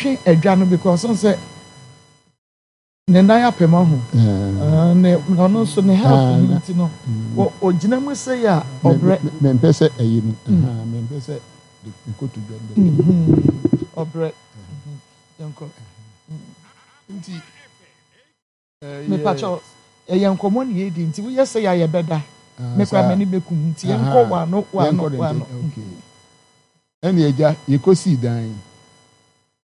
Ɔtwe adwa no because ɔn sɛ ne nan apem ahu. Ne ɔno nso ne health no nti no, ɔgyina mu sɛ yɛ a ɔbrɛ. Mempɛ sɛ ɛyi no, mempɛ sɛ ne kotodwe no bɛbɔ. Ɔbrɛ. Yɛnkɔ. Nti Mepakyɛw, ɛyɛ nkɔmmɔ na yɛredi nti woyɛ sɛ yɛ a yɛbɛda. Me koraa m'ani bɛkum nti yɛnkɔ wano wano wano. Ɛne agya yɛkɔsii dan yi.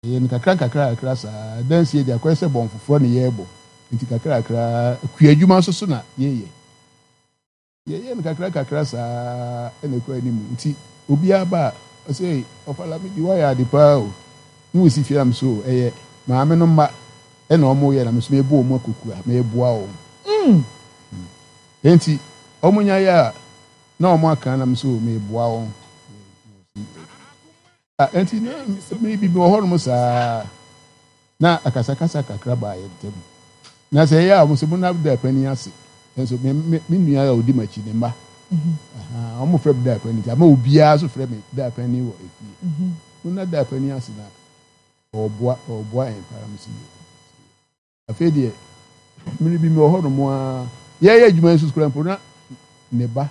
Yɛyɛ no kakra nkakra kakra saa. Dansie deɛ akɔyɛ sɛ bɔn foforɔ na yɛrebɔ. Nti kakra kakra kua adwuma nso so na yɛyɛ. Yɛyɛ no kakra kakra saa ɛna ɛkɔ anim. Nti obiara ba a ɔsɛ, "Ei, Ɔfa Lamidi, woayɛ ade paa o. Ne wo si fie am so ɛyɛ maame no mma ɛna ɔmo yɛ na me nso mebɔ wɔn akokua, meboa wɔn." Nti ɔmo nya yɛ a na ɔmo aka na me nso meboa wɔn. Nti na me bibi wɔ hɔnom saa na akasakasa kakra baa yɛn ntam. Na sɛ ɛyɛ a wɔn sɛ mo na da panin ase. Nso me nua a odi m'akyi ne mma. Wɔn frɛ me da panin nti ama obiara nso frɛ me da panin wɔ efie. Mo na da panin ase na ɔboa yɛn paa mo si yɛ. Afei deɛ mmiri bi mi wɔ hɔnom a yɛyɛ adwuma nso kura mpo na ne ba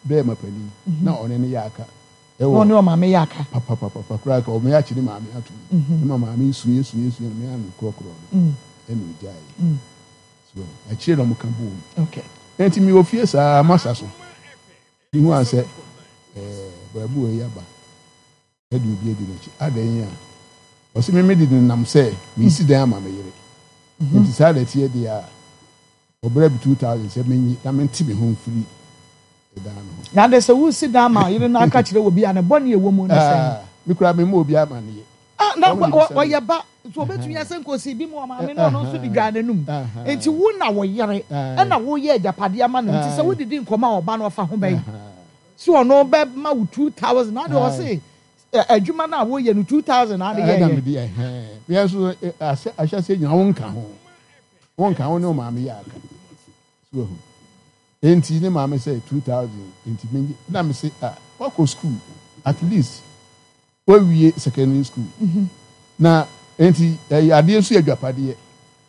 bɛrima panin na ɔne ne yɛ aka. Ɛwɔ ɔne ɔmaame yɛ aka. Papapapa koraa ka ɔmo yɛ akyi ne maame ato mu. Ne ma maame esu esu esu na me ano korɔkorɔ no ɛna ogya yɛ. So akyire na ɔmo ka bɔ mu. Nti mi wɔ fie saa masa so. Ihu ansɛ baabu wɔ yi aba. Ɛde obi adi n'akyi. Adɛn a ɔsɛ me mede nenam sɛ mesi dan ama me yere. Nti saa na ɛteɛ deɛ a ɔbrɛ bi 2000 sɛ menye na mente me ho mfiri ɛdan no ho. Na de sɛ wosi dan ma yere no aka kyerɛ obi a ne bɔne ɛwɔ mu ne sɛn? Me koraa memmɔ obi amanneɛ. Ah, na ɔyɛ ba nti obetumi asɛ nkosi bi mu ɔmaame na ɔno nso de dwa n'anum. Nti wo na wo yere ɛna woyɛ agyapadeɛ ama no, nti sɛ wodidi nkɔmɔ a ɔba no ɔfa ho bɛyi so ɔno bɛma wo 2000 na de ɔse adwuma no a woyɛ no 2000 na ade yɛ. Ɛna mede yɛ nso ahyɛ nyina wonka ho wonka ho ne ɔmaame yɛ aka so ahu. Enti ne maame sɛ 2000 nti menye na me se, ah, wakɔ school, at least wawie secondary school na enti ɛyɛ adeɛ nso yɛ adwapadeɛ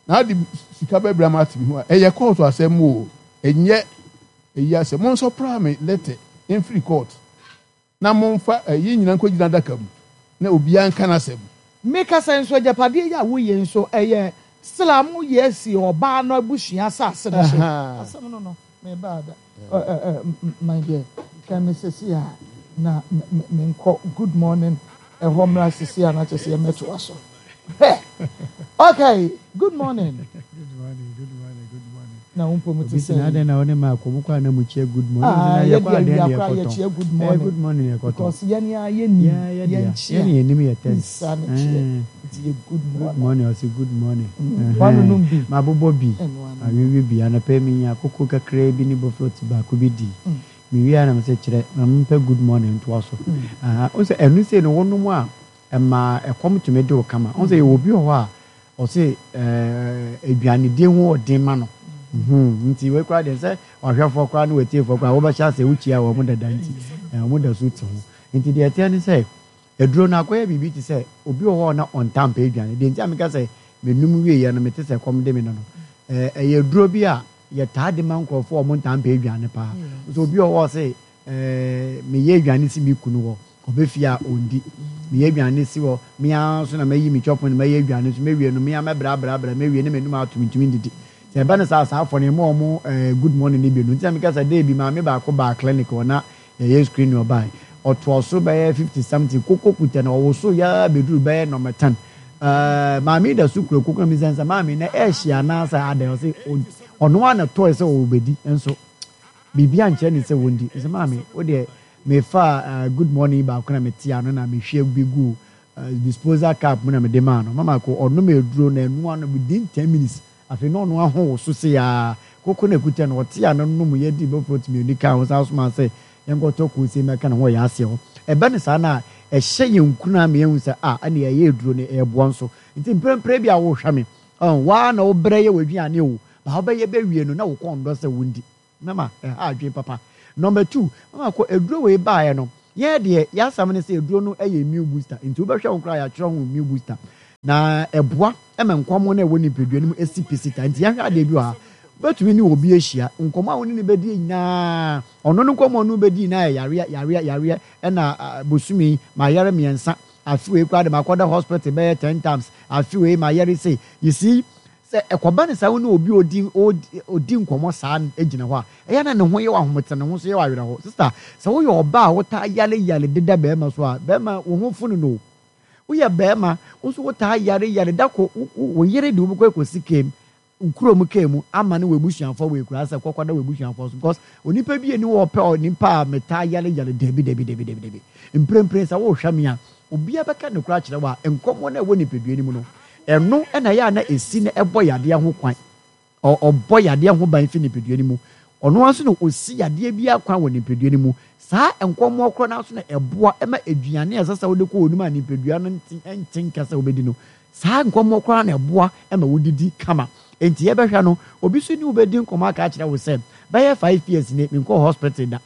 na ade sika bɛbrɛ ama ate me ho a ɛyɛ court asɛm o, ɛnyɛ ɛyi asɛm. Mo nso pra me letter mfiri court na momfa ɛyi nyina nkɔgyina adaka mu na obiara nka n'asɛm. Meka sɛ nso agyapadeɛ yi a woyɛ nso ɛyɛ still a moyɛ asi ɔbaa no abusua asase no so. Asɛm no mebaa da my dear, twɛn me sesi a na menkɔ good morning ɛhɔ mmra sesi a na kyerɛ sɛ yɛmmɛtoa so. Okay, good morning. Good morning, good morning, good morning. Na wo mpɔ mu te Obi sɛ sɛ na adɛn na wo ne ma akɔ mu kɔ a na mu kyia good morning. Ah, Na yɛ yɛkɔ deɛ adeɛ wia na koraa yɛkɔtɔn. yɛkyia good Eh, morning. good morning yɛkɔtɔn. Because yɛne a yɛnim Yɛ dea. yɛnkyia. Yɛne yɛnim yɛ tens. Nsa ne kyeɛ. Nti yɛ good Good morning. morning, ɔse good morning. Wanonom bi. Mabobɔ bi. Ɛno ano. Awewe bi. Anɔpa mi nya akoko kakraa bi ne bofrot baako bi di. Mewie a na mesɛ kyerɛ ma mempɛ good morning ntoa so. Aha, wo sɛ ɛno sei no wonom a ɛma ɛkɔm tumi de wo kama. Wo sɛ yɛwɔ obi wɔ hɔ a ɔse aduanedie ho ɔden ma no. Nti wei koraa deɛ sɛ wahwɛfoɔ koraa ne watiefoɔ koraa wobɛhyɛ ase wokyia wɔn dada nti wɔn da so te ho. Nti deɛ ɛteɛ ne sɛ aduro no akɔyɛ biribi te sɛ obi wɔ hɔ a na ɔnta mpɛ aduane. Deɛ nti a meka sɛ menum wieɛ no mete sɛ kɔm de me no, ɛyɛ aduro bi a yɛtaa de ma nkurɔfoɔ a wɔn ntaa mpɛ aduane paa. Nso obi wɔ hɔ a ɔse meyɛ aduane si me kunu hɔ, ɔbɛfie a ɔndi. Meyɛ aduane si hɔ, me ara nso na mayi me kyɔpo na mɛyɛ aduane nso mɛwie no, me ara mɛbrɛabrɛabrɛ mɛwie ne m'anum ato mentumi ndidi. Sɛ ɛba no saa saa afɔ no ɛma wɔn good morning no bi no. Nti na meka sɛ day bi maame baako baa clinic hɔ na yɛyɛ screen ɔbae. Ɔtoa so bɛyɛ 50 something koko kuta na ɔwoso yaa bɛduru bɛyɛ number 10. Maame da so kura koko na misa sɛ maame na ɛhye anaasɛ adɛn, ɔse ɔno ara na tɔe sɛ ɔbɛdi nso biribi ankyerɛ ne sɛ wɔndi. Nso maame wo deɛ mefa good morning baako na mete ano na mehwie bi gu disposal cup mu na mede maa no. Mama ko ɔnom aduro na ɛnoa no within 10 minutes. Afei na ɔno aho wo so se yaa koko na ekuta no ɔte ano nom yɛ di bɛfrot mmienu ka ho san soma sɛ yɛnkɔtɔ kose mɛka ne ho ɔyɛ aseɛ hɔ. Ɛbɛ ne saa na ɛhyɛ yɛn nkuna ama yɛhu sɛ a ɛne ɛyɛ aduro no ɛɛboa nso. Nti mprɛmprɛ bi a wohwɛ me waa na wobrɛ yɛ w'aduane o, ba wobɛyɛ bɛwie no na wo kɔn dɔ sɛ wondi. Mama ɛha adwene papa. Number 2, mama kɔ aduro wei baeɛ no, yɛn deɛ yɛasɛm ne sɛ aduro no ɛyɛ immune booster. Nti wobɛhwɛ wo koraa yɛatwerɛ ho immune booster. Na ɛboa ma nkwammoa no a ɛwɔ nipadua no mu si pi sita. Nti yɛnhwɛ adeɛ bi wɔ ha. Wobɛtumi ne obi ahyia, nkɔmmɔ a wo ne no bɛdi nyinaa, ɔno no nkɔmmɔ a ɔne wo bɛdi nyinaa yɛ yareɛ, yareɛ, yareɛ, ɛna bosome yi mayare mmiɛnsa, afe wei koraa de makɔda hospital bɛyɛ ten times, afe wei mayare sei. You see, sɛ ɛkɔba no saa wo ne obi a ɔdi, ɔdi nkɔmmɔ saa gyina hɔ a, ɛyɛ na ne ho yɛ wo ahomete, ne ho nso yɛ wo awerɛho. Sister, sɛ woyɛ ɔbaa a wotaa yare yare deda barima so a, barima wo ho funu no o. Woyɛ barima, wo nso wotaa yare yare da ko, wo yere de wo bɛkɔ akɔsi kaa mu, wo kurom kaa mu ama ne w'abusuafoɔ wɔ akuraa sɛ kɔkɔda w'abusuafoɔ so because onipa bi ani wɔ ɔpɛ onipa a metaa yare yare dabi dabi dabi dabi dabi. Mprempren sɛ wohwɛ me a, obiara bɛka nokorɛ akyerɛ wo a, nkɔmmɔ no a ɛwɔ nipadua no mu no, ɛno na ɛyɛ a na ɛsi na ɛbɔ yadeɛ ho kwan. Ɔbɔ yadeɛ ho ban fi nipadua no mu. Ɔno ara nso na ɔsi yadeɛ biara kwan wɔ nipadua no mu. Saa nkɔmmɔ korɔ no ara nso na ɛboa ma aduane a ɛsɛ sɛ wode kɔ w'anom a nipadua no nte nte nka sɛ wobɛdi no. Saa nkɔmmɔ korɔ ara na ɛboa ma wodidi kama. Enti yɛbɛhwɛ no, obi nso ne wo bɛdi nkɔmmɔ aka akyerɛ wo sɛ, bɛyɛ 5 years nie, menkɔɔ hospital da.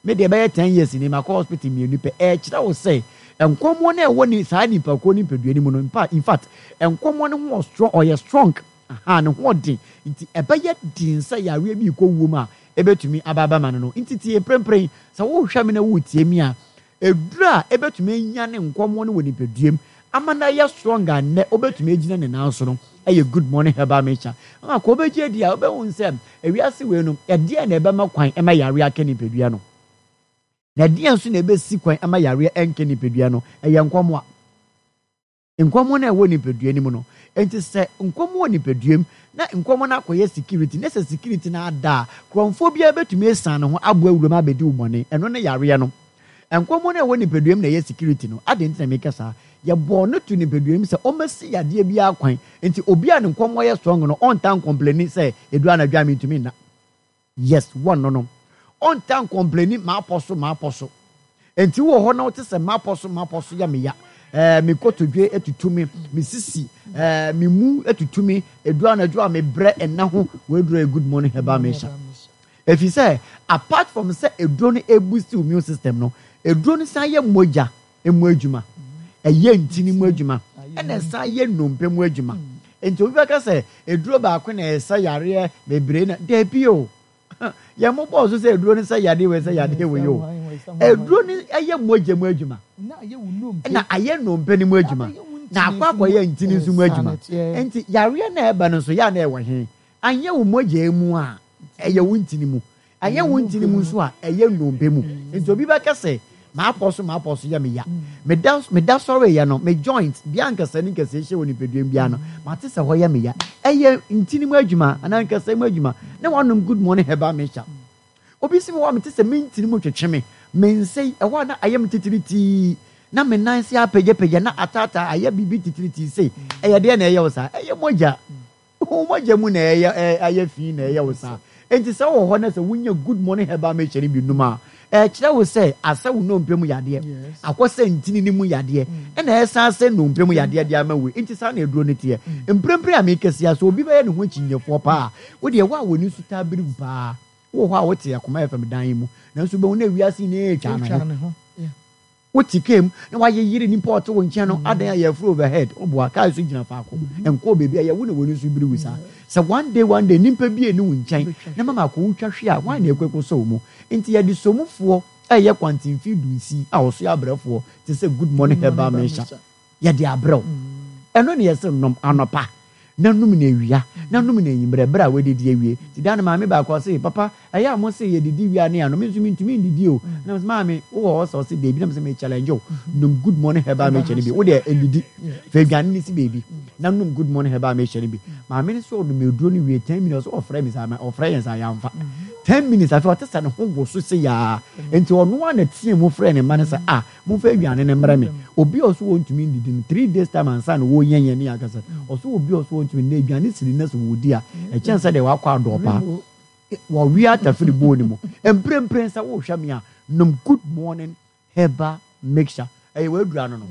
Me deɛ bɛyɛ 10 years nie, makɔ hospital mmienu pɛ. Ɛrekyerɛ wo sɛ nkɔmmɔ no a ɛwɔ ne saa nipa korɔ no nipadua no mu no, in fact, nkɔmmɔ no ho wɔ strong, ɔyɛ strong. Ahaa, ne ho ɔden nti ɛbɛyɛ den sɛ yareɛ bi rekɔ wuo mu a ɛbɛtumi aba abɛma no no. Nti tie mprempren, sɛ worehwɛ me na woretie me a, aduro a ɛbɛtumi anyane nkɔmmɔ no wɔ nipaduam ama no ayɛ strong a nnɛ wobɛtumi agyina ne nan so no yɛ Good Morning Herbal Mixture. Ama kɔ wobɛgye adi a wobɛhu sɛ ewiase wei no, ɛdeɛn na ɛbɛma kwan ma yareɛ aka nipadua no? Na ɛdeɛn nso na ɛbɛsi kwan ama yareɛ ɛnka nipadua no? Ɛyɛ nkɔmmoa. Nkɔmmɔ no a ɛwɔ nipadua no mu no. Enti sɛ nkɔmmɔ wɔ nipadua mu na nkɔmmɔ no akɔyɛ security na sɛ security no ada a, korɔmfoɔ biara bɛtumi asiane ne ho aboa wuram abɛdi wo bɔne. Ɛno ne yareɛ no. Nkɔmmɔ no a ɛwɔ nipadua mu na ɛyɛ security no. Adɛn nti na meka saa? Yɛbɔɔ no too nipadua mu sɛ ɔmmɛsi yadeɛ biara kwan. Enti obi a ne nkɔmmɔ yɛ strong no, ɔntaa nkɔmpleni sɛ ɛduru anadwo a mentumi nna. Yes, one no no. Ɔntaa nkɔmpleni m'apɔ so m'apɔ so. Enti wowɔ hɔ na wote sɛ m'apɔ so m'apɔ so yɛ me ya. Ɛɛ me kotodwe atutu me, me sisi, ɛɛ me mu atutu me, edu anadwo a mebrɛ nna ho, w'aduro yɛ Good Morning Herbal Mixture. Ɛfiri sɛ apart from sɛ aduro no ɛboost wo immune system no, aduro no san yɛ mogya mu adwuma, ɛyɛ ntini mu adwuma, ɛna ɛsan yɛ nnompe mu adwuma. Nti obi bɛka sɛ aduro baako na ɛsa yareɛ bebree na dabi o. Yɛn mo bɔɔ so sɛ aduro no sɛ yadeɛ wei sɛ yadeɛ wei o. Aduro no ɛyɛ mogya mu adwuma, ɛna ayɛ nnompe no mu adwuma, na akɔ akɔyɛ ntini nso mu adwuma. Nti yareɛ na ɛba no nso yɛ a na ɛwɔ he? Anyɛ wo mogya mu a, ɛyɛ wo ntini mu. Ɛnyɛ wo ntini mu nso a, ɛyɛ nnompe mu. Nti obi bɛka sɛ, M'apɔ so, m'apɔ so yɛ me ya. Meda, meda sɔreeɛ no, me joint, bea a nkasɛɛ ne nkasɛɛ hyia wɔ nipadua mu biara no, mate sɛ hɔ yɛ me ya. Ɛyɛ ntini mu adwuma anaa nkasɛɛ mu adwuma na wanom Good Morning Herbal Mixture. Obi se me hɔ a, mete sɛ me ntini mu twetwe me. Me nsa yi, ɛhɔ a na ayɛ me titiritii, na me nan ase apagyapagya, na ataataa ayɛ biribi titiritii sei. Ɛyɛ deɛn na ɛyɛ wo saa? Ɛyɛ mogya. Wo mogya mu na ɛyɛ ayɛ fi na ɛyɛ wo saa. Enti sɛ wowɔ hɔ na sɛ wunya Good Morning Herbal Mixture no bi nom a, ɛkyerɛ wo sɛ asɛ wo nnompe mu yadeɛ, akɔsɛ ntini no mu yadeɛ, ɛna ɛsan asɛ nnompe mu yadeɛ de ama wo. Enti saa na aduro no teɛ. Mprempren a merekasa yi ara, sɛ obi bɛyɛ ne ho akyinnyefoɔ paa a, wo deɛ, wo a w'ani so taa biri wo paa, wowɔ hɔ a wote Akoma FM dan yi mu, nanso wobɛhu na wiase nyinaa retwa ne ho. Wote kaa mu na wayeyere nipa a ɔte wo nkyɛn no adan ayɛ afuru overhead woboa kaa so gyina faako nkɔɔ baabi a yɛwo na w'ani so biri wo saa sɛ one day one day nipa bi ɛni wo nkyɛn na mama akɔ wo twa hwe a hwan na ɛkɔ ɛkɔ sɔ wo mu nti yɛde somufoɔ ɛyɛ kwantemfii dunsi a ɔso yɛ abrɛfoɔ te sɛ Good Morning Herbal Mixture Yɛde abrɛ wo. Ɛno na yɛse nom anɔpa, na nom no awia, na nom no anwummerɛ, berɛ a woadidi awie. Nti da no maame baako ɔse, Papa, ɛyɛ a mose yɛdidi wie a ne yɛanom, me nso mentumi ndidi o. Na mese, Maame, wowɔ hɔ sɛ? Ɔse, Dabi. Na mese, Me challenge wo, nom Good Morning Herbal Mixture no bi. Wo deɛ ndidi, fa aduane no si baabi na nom Good Morning Herbal Mixture no bi. Maame no se ɔnom aduro no wie 10 minutes, ɔse ɔfrɛ me saa, ɔfrɛ yɛn saa, yɛamfa. 10 minutes afei ɔte sɛ ne ho woso sei ara. Nti ɔno ara na teaa mu frɛɛ ne mma no sɛ, Ah, Momfa aduane no mmrɛ me. Obi a ɔse ɔntumi ndidi no, 3 days time ansa na ɔrenya yɛn ne yɛn akasa. Ɔse obi a ɔse ɔntumi nnɛ aduane siri na sɛ ɔredi a, ɛkyɛn sɛ deɛ wakɔ adɔɔ paa. Wɔwe atafiri bowl no mu. Mprempren sɛ worehwɛ me a, nom Good Morning Herbal Mixture. Ɛyɛ w'aduru ano no.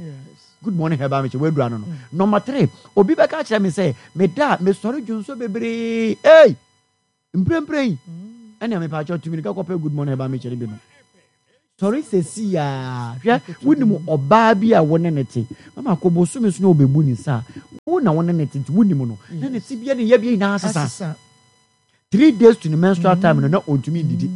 Good Morning Herbal Mixture, w'aduru ano no. Number three, obi bɛka akyerɛ me sɛ, meda a, mesɔre dwonsɔ bebree. Ei! Mprempren, ɛnea mepaakyɛw, tu mirika kɔpɛ Good Morning Herbal Mixture no bi nom. Sɔre seesei ara. Hwɛ, wonim ɔbaa bi a wo ne no te. Mama kɔ bosome so na ɔbɛbu ne nsa a, wo na wo ne no te nti wonim no. Na ne tebea ne yɛbea nyinaa asesa. 3 days to ne menstrual time no, na ɔntumi ndidi.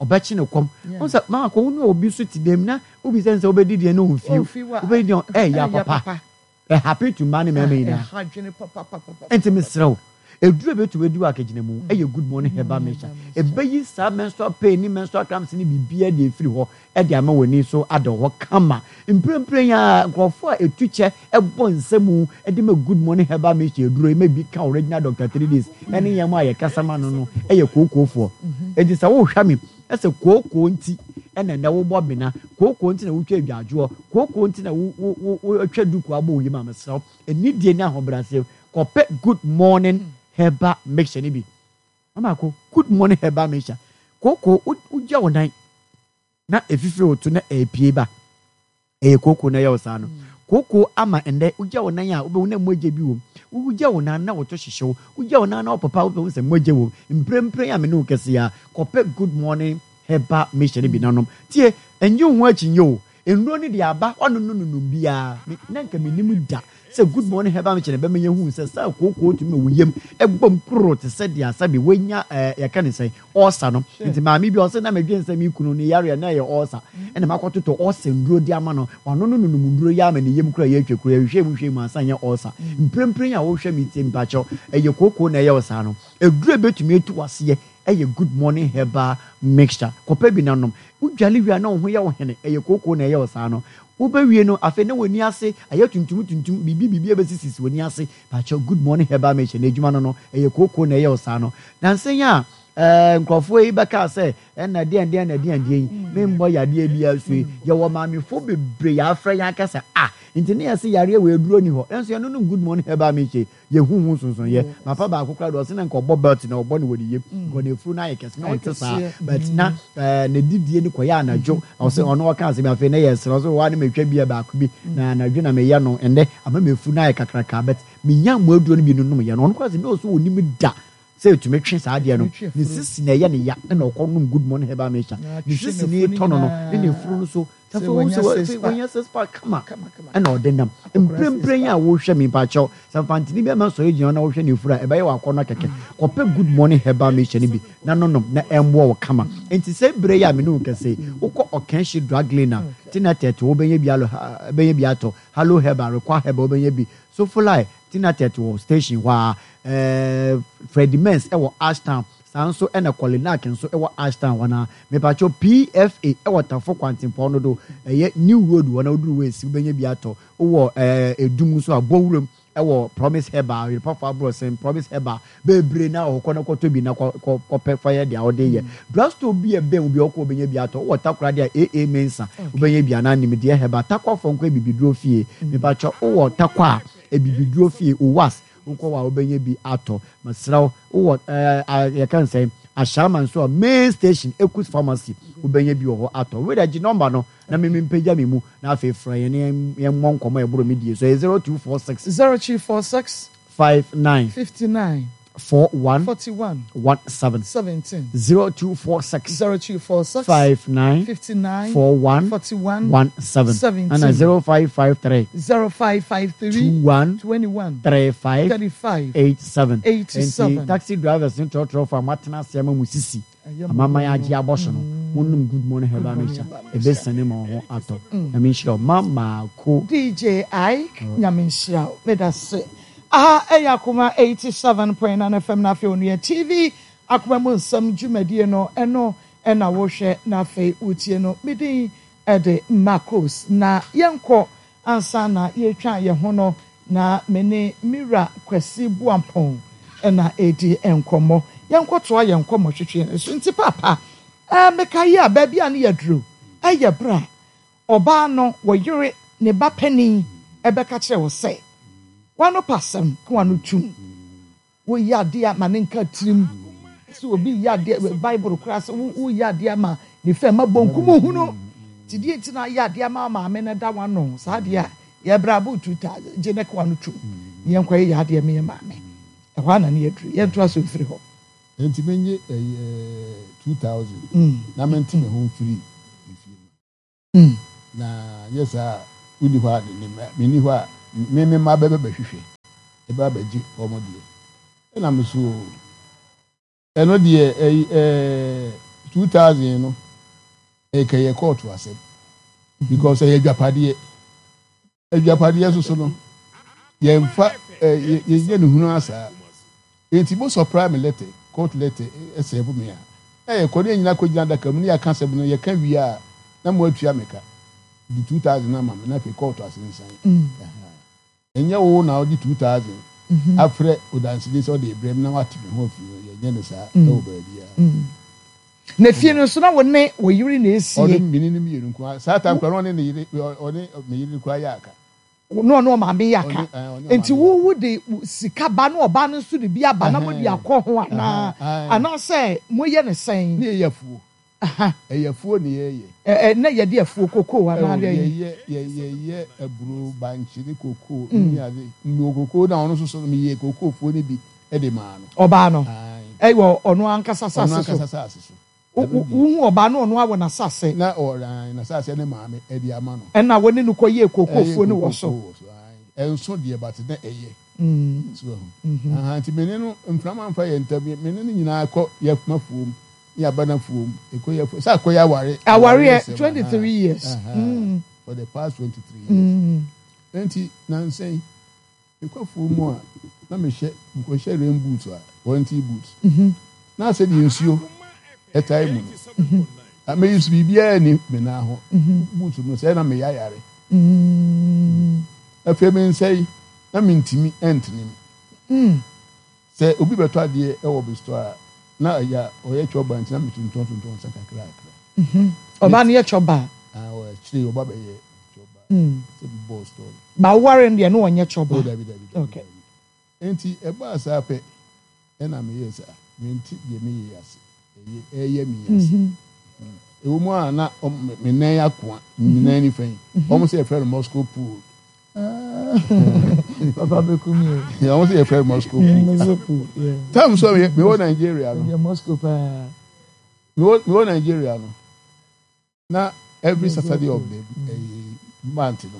Ɔbɛkye ne kɔm. Wohu sɛ mama kɔ wo ne obi so te dɛm na wobisa no sɛ wobɛdi deɛ na ɔmfi wo. Wobɛdi deɛ ɛyɛ papa. Ɛhappen to mmaa ne mmarima nyinaa. Nti mesrɛ wo, eduru a ebetumi adi wɔ akagyina mu yɛ Good Morning Herbal Mixture. Ebeyi saa menstrual pain ne menstrual cramps ne biribiara de afiri hɔ de ama w'ani so ada hɔ kama. Mprempren yi ara, nkurɔfo a etu kyɛ bɔ nsa mu de ma Good Morning Herbal Mixture aduro yi ma bi ka Original Doctor 3 Days ne yɛn a yɛkasa ma no no yɛ kookoofoɔ. Enti sɛ wohwɛ me sɛ kookoo nti na ɛnnɛ wobɔ bena, kookoo nti na wotwa adwadwoɔ, kookoo nti na wo wo wo wotwa duku abɔ wo yam a, mesrɛ wo, anidie ne ahobrɛaseɛ, kɔpɛ Good Morning Herbal Mixture no bi. Mama ko, Good Morning Herbal Mixture. Kookoo, wogya wo nan na ɛfifiri wo to na ɛrepue ba. Ɛyɛ kooko na ɛyɛ wo saa no. Kooko ama ɛnnɛ wogya wo nan a wobɛhu na mogya bi wom. Wogya wo nan na wo to hyehye wo. Wogya wo nan na wopopa a wobɛhu sɛ mogya wom. Mprempren a me ne wo kasa yi ara, kɔpɛ Good Morning Herbal Mixture no bi na nom. Tie, nnye wo ho akyinnye o. Nnuro no deɛ aba, woanonom biara. Me, na anka mennim da sɛ Good Morning Herbal Mixture na ɛbɛma yɛahu sɛ saa kooko tumi ma wo yam bom koroo te sɛ deɛ sɛbe woanya ɛɛ yɛka ne sɛn, ɔɔsa no. Nti maame bi ɔse na medwen sɛ me kunu ne yareɛ na ɛyɛ ɔɔsa ɛna makɔtotɔ ɔɔsa nduro de ama no. Wano no nonom nduro yi ama ne yam koraa yɛ atwa kuro. Yɛhwehwɛɛ mu hwɛɛ mu ansa nyɛ ɔɔsa. Mprempren a wohwɛ me tie mepakyɛw ɛyɛ kookoo na ɛyɛ wo saa no. Aduro a ɛbɛtumi atu w'aseɛ ɛyɛ Good Morning Herbal Mixture. Kɔpɛ bi na nom. Wodwale wie a na wo ho yɛ wo hene, ɛyɛ kookoo na ɛyɛ wo saa no. Wobɛwie no afei na w'ani ase ayɛ tuntum tuntum, biribi biribi abɛsisisi w'ani ase. Pakyɛw Good Morning Herbal Mixture n'adwuma no no, ɛyɛ kookoo na ɛyɛ wo saa no. Nansa yi a ɛɛ nkurɔfoɔ yi bɛkaa sɛ ɛna deɛn deɛn na deɛn deɛn yi, memmɔ yadeɛ biara so yi, yɛwɔ maamefoɔ bebree yɛafrɛ yɛn aka sɛ ah, nti ne yɛse yareɛ wei aduro nni hɔ, nanso yɛnonom Good Morning Herbal Mixture yi, Yɛhu ho nsonsonoeɛ. Papa baako koraa deɛ ɔse na nka ɔbɔ belt na ɔbɔ no wɔ ne yam. Nka n'afuru no ayɛ kɛse na ɔnte saa. But na eh, ne didie no kɔyɛ anadwo. Ɔse ɔno ɔka asɛm bi afei na yɛ sere. Ɔse waa ne matwa beer baako bi na anadwo na meyɛ no. Ɛnnɛ ama m'afuru no ayɛ kakraka but menya mmoaduro no bi no nomyɛ no. Ɔno koraa se na ɔse ɔnim da sɛ ɛtumi twe saa adeɛ no. Ne sisi na ɛyɛ ne ya na ɔkɔ nom Good Morning Herbal Mixture. Ne sisi no retɔ no no ne n'afuru no so. Sɛ afei wohu sɛ afei wanya six pack kama ɛna ɔde nam. Mprempren yi a wohwɛ me mpakyɛw, sɛ mfantini bi ama sɔre gyina hɔ na wohwɛ ne furu a, ɛbɛyɛ wo akɔnnɔ kɛkɛ. Kɔpɛ Good Morning Herbal Mixture no bi na nonom na ɛmmoa wo kama. Enti sɛ bere yi a me ne wo kasa yi, wokɔ Ɔkanhyi Drug Lane a, Tinatet wobɛnya bi alo bɛnya bi atɔ, Halo Herbal, Rekwa Herbal wobɛnya bi, Sofolai, Tinatet wɔ station hɔ ara, ɛɛ Freddie Mens wɔ Ashtown, Saa nso na Kolinak nso wɔ Ashtown hɔ no ara. Mepakyɛw PFA wɔ Tafo kwantempɔn no do, ɛyɛ New Road hɔ na woduru hɔ esi wobɛnya bi atɔ. Wowɔ ɛɛ Edum nso a, Bɔwuram wɔ Promise Herbal, Yerepafo Aborɔsen, Promise Herbal, bebree na wɔ hɔ. Kɔ na kɔtɔ bi na kɔ kɔ kɔpɛ fa yɛ deɛ wode yɛ. Drugstore bi a ɛbɛn wo biara wokɔ wobɛnya bi atɔ. Wowɔ Takoradi a, AA Mensah wobɛnya bi anaa Nimdeɛ Herbal. Takwafoɔ nko Abibiduro fie. Mepakyɛw wowɔ Takwa a, Abibiduro fie, OWAS, Wokɔ hɔ a wobɛnya bi atɔ. Mesrɛ wo, wowɔ ɛɛ yɛka no sɛn, Ashaiman nso a, main station, Ekus Pharmacy, wobɛnya bi wɔ hɔ atɔ. Wei deɛ gye nɔmba no na me mempagya me mu na afei frɛ yɛn na yɛmmɔ nkɔmmɔ a ɛboro me die so. Ɛyɛ 0246. 0246. 59. 59. 41. 41. 17. 17. 0246. 0246. 59. 59. 41. 41. 17. 17. Ɛna 0553. 0553. 21. 21. 35. 35. 87. 87. Nti taxi drivers ne trɔtrɔfo a moatena ase ama mo sisi amaman agye abɔ so no, monnom Good Morning Herbal Mixture. Ɛbɛsiane ma wo ho atɔ. Nyame nhyira wo. Ma maako. DJ Ike, Nyame nhyira wo. Medase. Aha ɛyɛ Akoma 87.9 FM na afei Onua TV Akoma mu nsɛm dwumadie no ɛno ɛna wohwɛ na afei wotie no. Me din ɛde Marcos na yɛnkɔ ansa na yɛretwa yɛn ho no na me ne me wura Kwasi Boampong na ɛredi nkɔmmɔ. Yɛnkɔtoa yɛn nkɔmmɔtwetwe no so. Nti Paapa, ɛɛ mekae a baabi a ne yɛaduru ɛyɛ berɛ a Ɔbaa no, wɔ yere, ne ba panin bɛka kyerɛ wo sɛ, W'ano pa asɛm, ka w'ano tom. Woyɛ adeɛ a, ma no nka tirim. Sɛ obi reyɛ adeɛ, Bible koraa sɛ woyɛ adeɛ ama ne fɛ ma bonkum hunu. Nti deɛ nti na ayɛ adeɛ ama wo maame no da w'ano saa adeɛ a, yɛbrɛ abo 2000, gye ne ka w'ano tom na yɛnkɔyɛ yɛ adeɛ ma yɛ maame. Ɛhɔ ara na ne yɛduru. Yɛntoa so mfiri hɔ. Enti menye ɛyi 2000 na mente me ho mfiri efie. Na nyɛ saa a, wonni hɔ a ne mma, menni hɔ a, me me mma bɛba bɛhwehwɛ, ɛbɛ abɛgye wɔn deɛ. Ɛna me so ɛno deɛ ɛyi ɛɛ 2000 no ɛkɛyɛ kɔɔto asɛm because ɛyɛ adwapadeɛ. Adwapadeɛ nso so no, yɛmfa ɛ yɛnyɛ no hunu asaa. Enti mo supply me letter, court letter ɛsɛɛvo me a, na yɛkɔ ne yɛn nyinaa kɔgyina adaka mu ne yɛaka asɛm no, yɛka wie a, na mo atua me ka de 2000 ama me na afei kɔɔto asensan. Ɛhaa. Ɛnyɛ wo na wode 2000 afrɛ odanseni sɛ ɔde rebrɛ me na wate me ho afiri ho, yɛnyɛ no saa ɛwɔ baabiara. Na fie no nso na wo ne wo yere na esie. Ɔne me ne no mmienu nko ara. Saa time koraa na ɔne ne yere ɔne me yere koraa yɛ aka. Na ɔne ɔmaame yɛ aka. Nti wo wo de sika ba na ɔbaa no nso de bi aba na mo de akɔ ho anaa anaasɛ mo yɛ no sɛn? Ne yɛyɛ afuo. Ɛyɛ afuo ne yɛyɛ. Ɛ na yɛde afuo kokoo anaa deɛ? Yɛyɛ yɛyɛ aburo bankye ne kokoo ne ade. Mewɔ kokoo na ɔno nso so no meyɛ kokoo fuo no bi de maa no. Ɔbaa no? Ɛwɔ ɔno ankasa asase so? Ɔno ankasa asase so. Wohu ɔbaa no ɔno awɔ n'asase? Na ɔwɔ n'asase ne maame de ama no. Ɛna wo ne no kɔyɛɛ kookoofuo no wɔ so? Ɛnso deɛ but na ɛyɛ. So wahu? Aha, nti me ne no mframa mfa yɛn ntam, me ne no nyinaa kɔ yɛ m'afuom ne yɛaba n'afuom, ɛkɔ yɛ afuom, sɛ akɔyɛ aware. Awareɛ, 23 years. For the past 23 years. Nti nansa yi. Mekɔ afuo mu a, na mehyɛ mekɔhyɛ rain boot a, warranty boot. Na sɛdeɛ nsuo tae mu no, na me use biribiara nni me nan ho. Boot no sɛɛ na meyɛ ayare. Afei me nsa yi, na mentumi ntene mu. Sɛ obi bɛtɔ adeɛ wɔ me store a, na ɛyɛ a ɔyɛ chɔba nti na metontɔn tontɔn nsa kakrakra. Ɔbaa no yɛ chɔba? Ah, akyire yi ɔba bɛyɛ chɔba. Sɛ bi bɔɔ store no. Ba woware no deɛ na ɔnyɛ chɔba? Oh, dabi dabi dabi. Okay. Nti ɛbaa saa pɛ ɛna meyɛɛ sɛ ah, mente deɛ meyɛ yi ase. Ɛyɛ ɛyɛ me yi ase. Ɛwɔ mu a na me nan akoa, me nan nifa yi. Wɔn sɛ yɛfrɛ no Moscow pool. Papa bɛku mi o. Wɔn sɛ yɛfrɛ no Moscow pool. Moscow pool. Yeah. Tam so mewɔ Nigeria no. Ɛdeɛ Moscow paa. Mewɔ Nigeria no. Na every Saturday of the month no.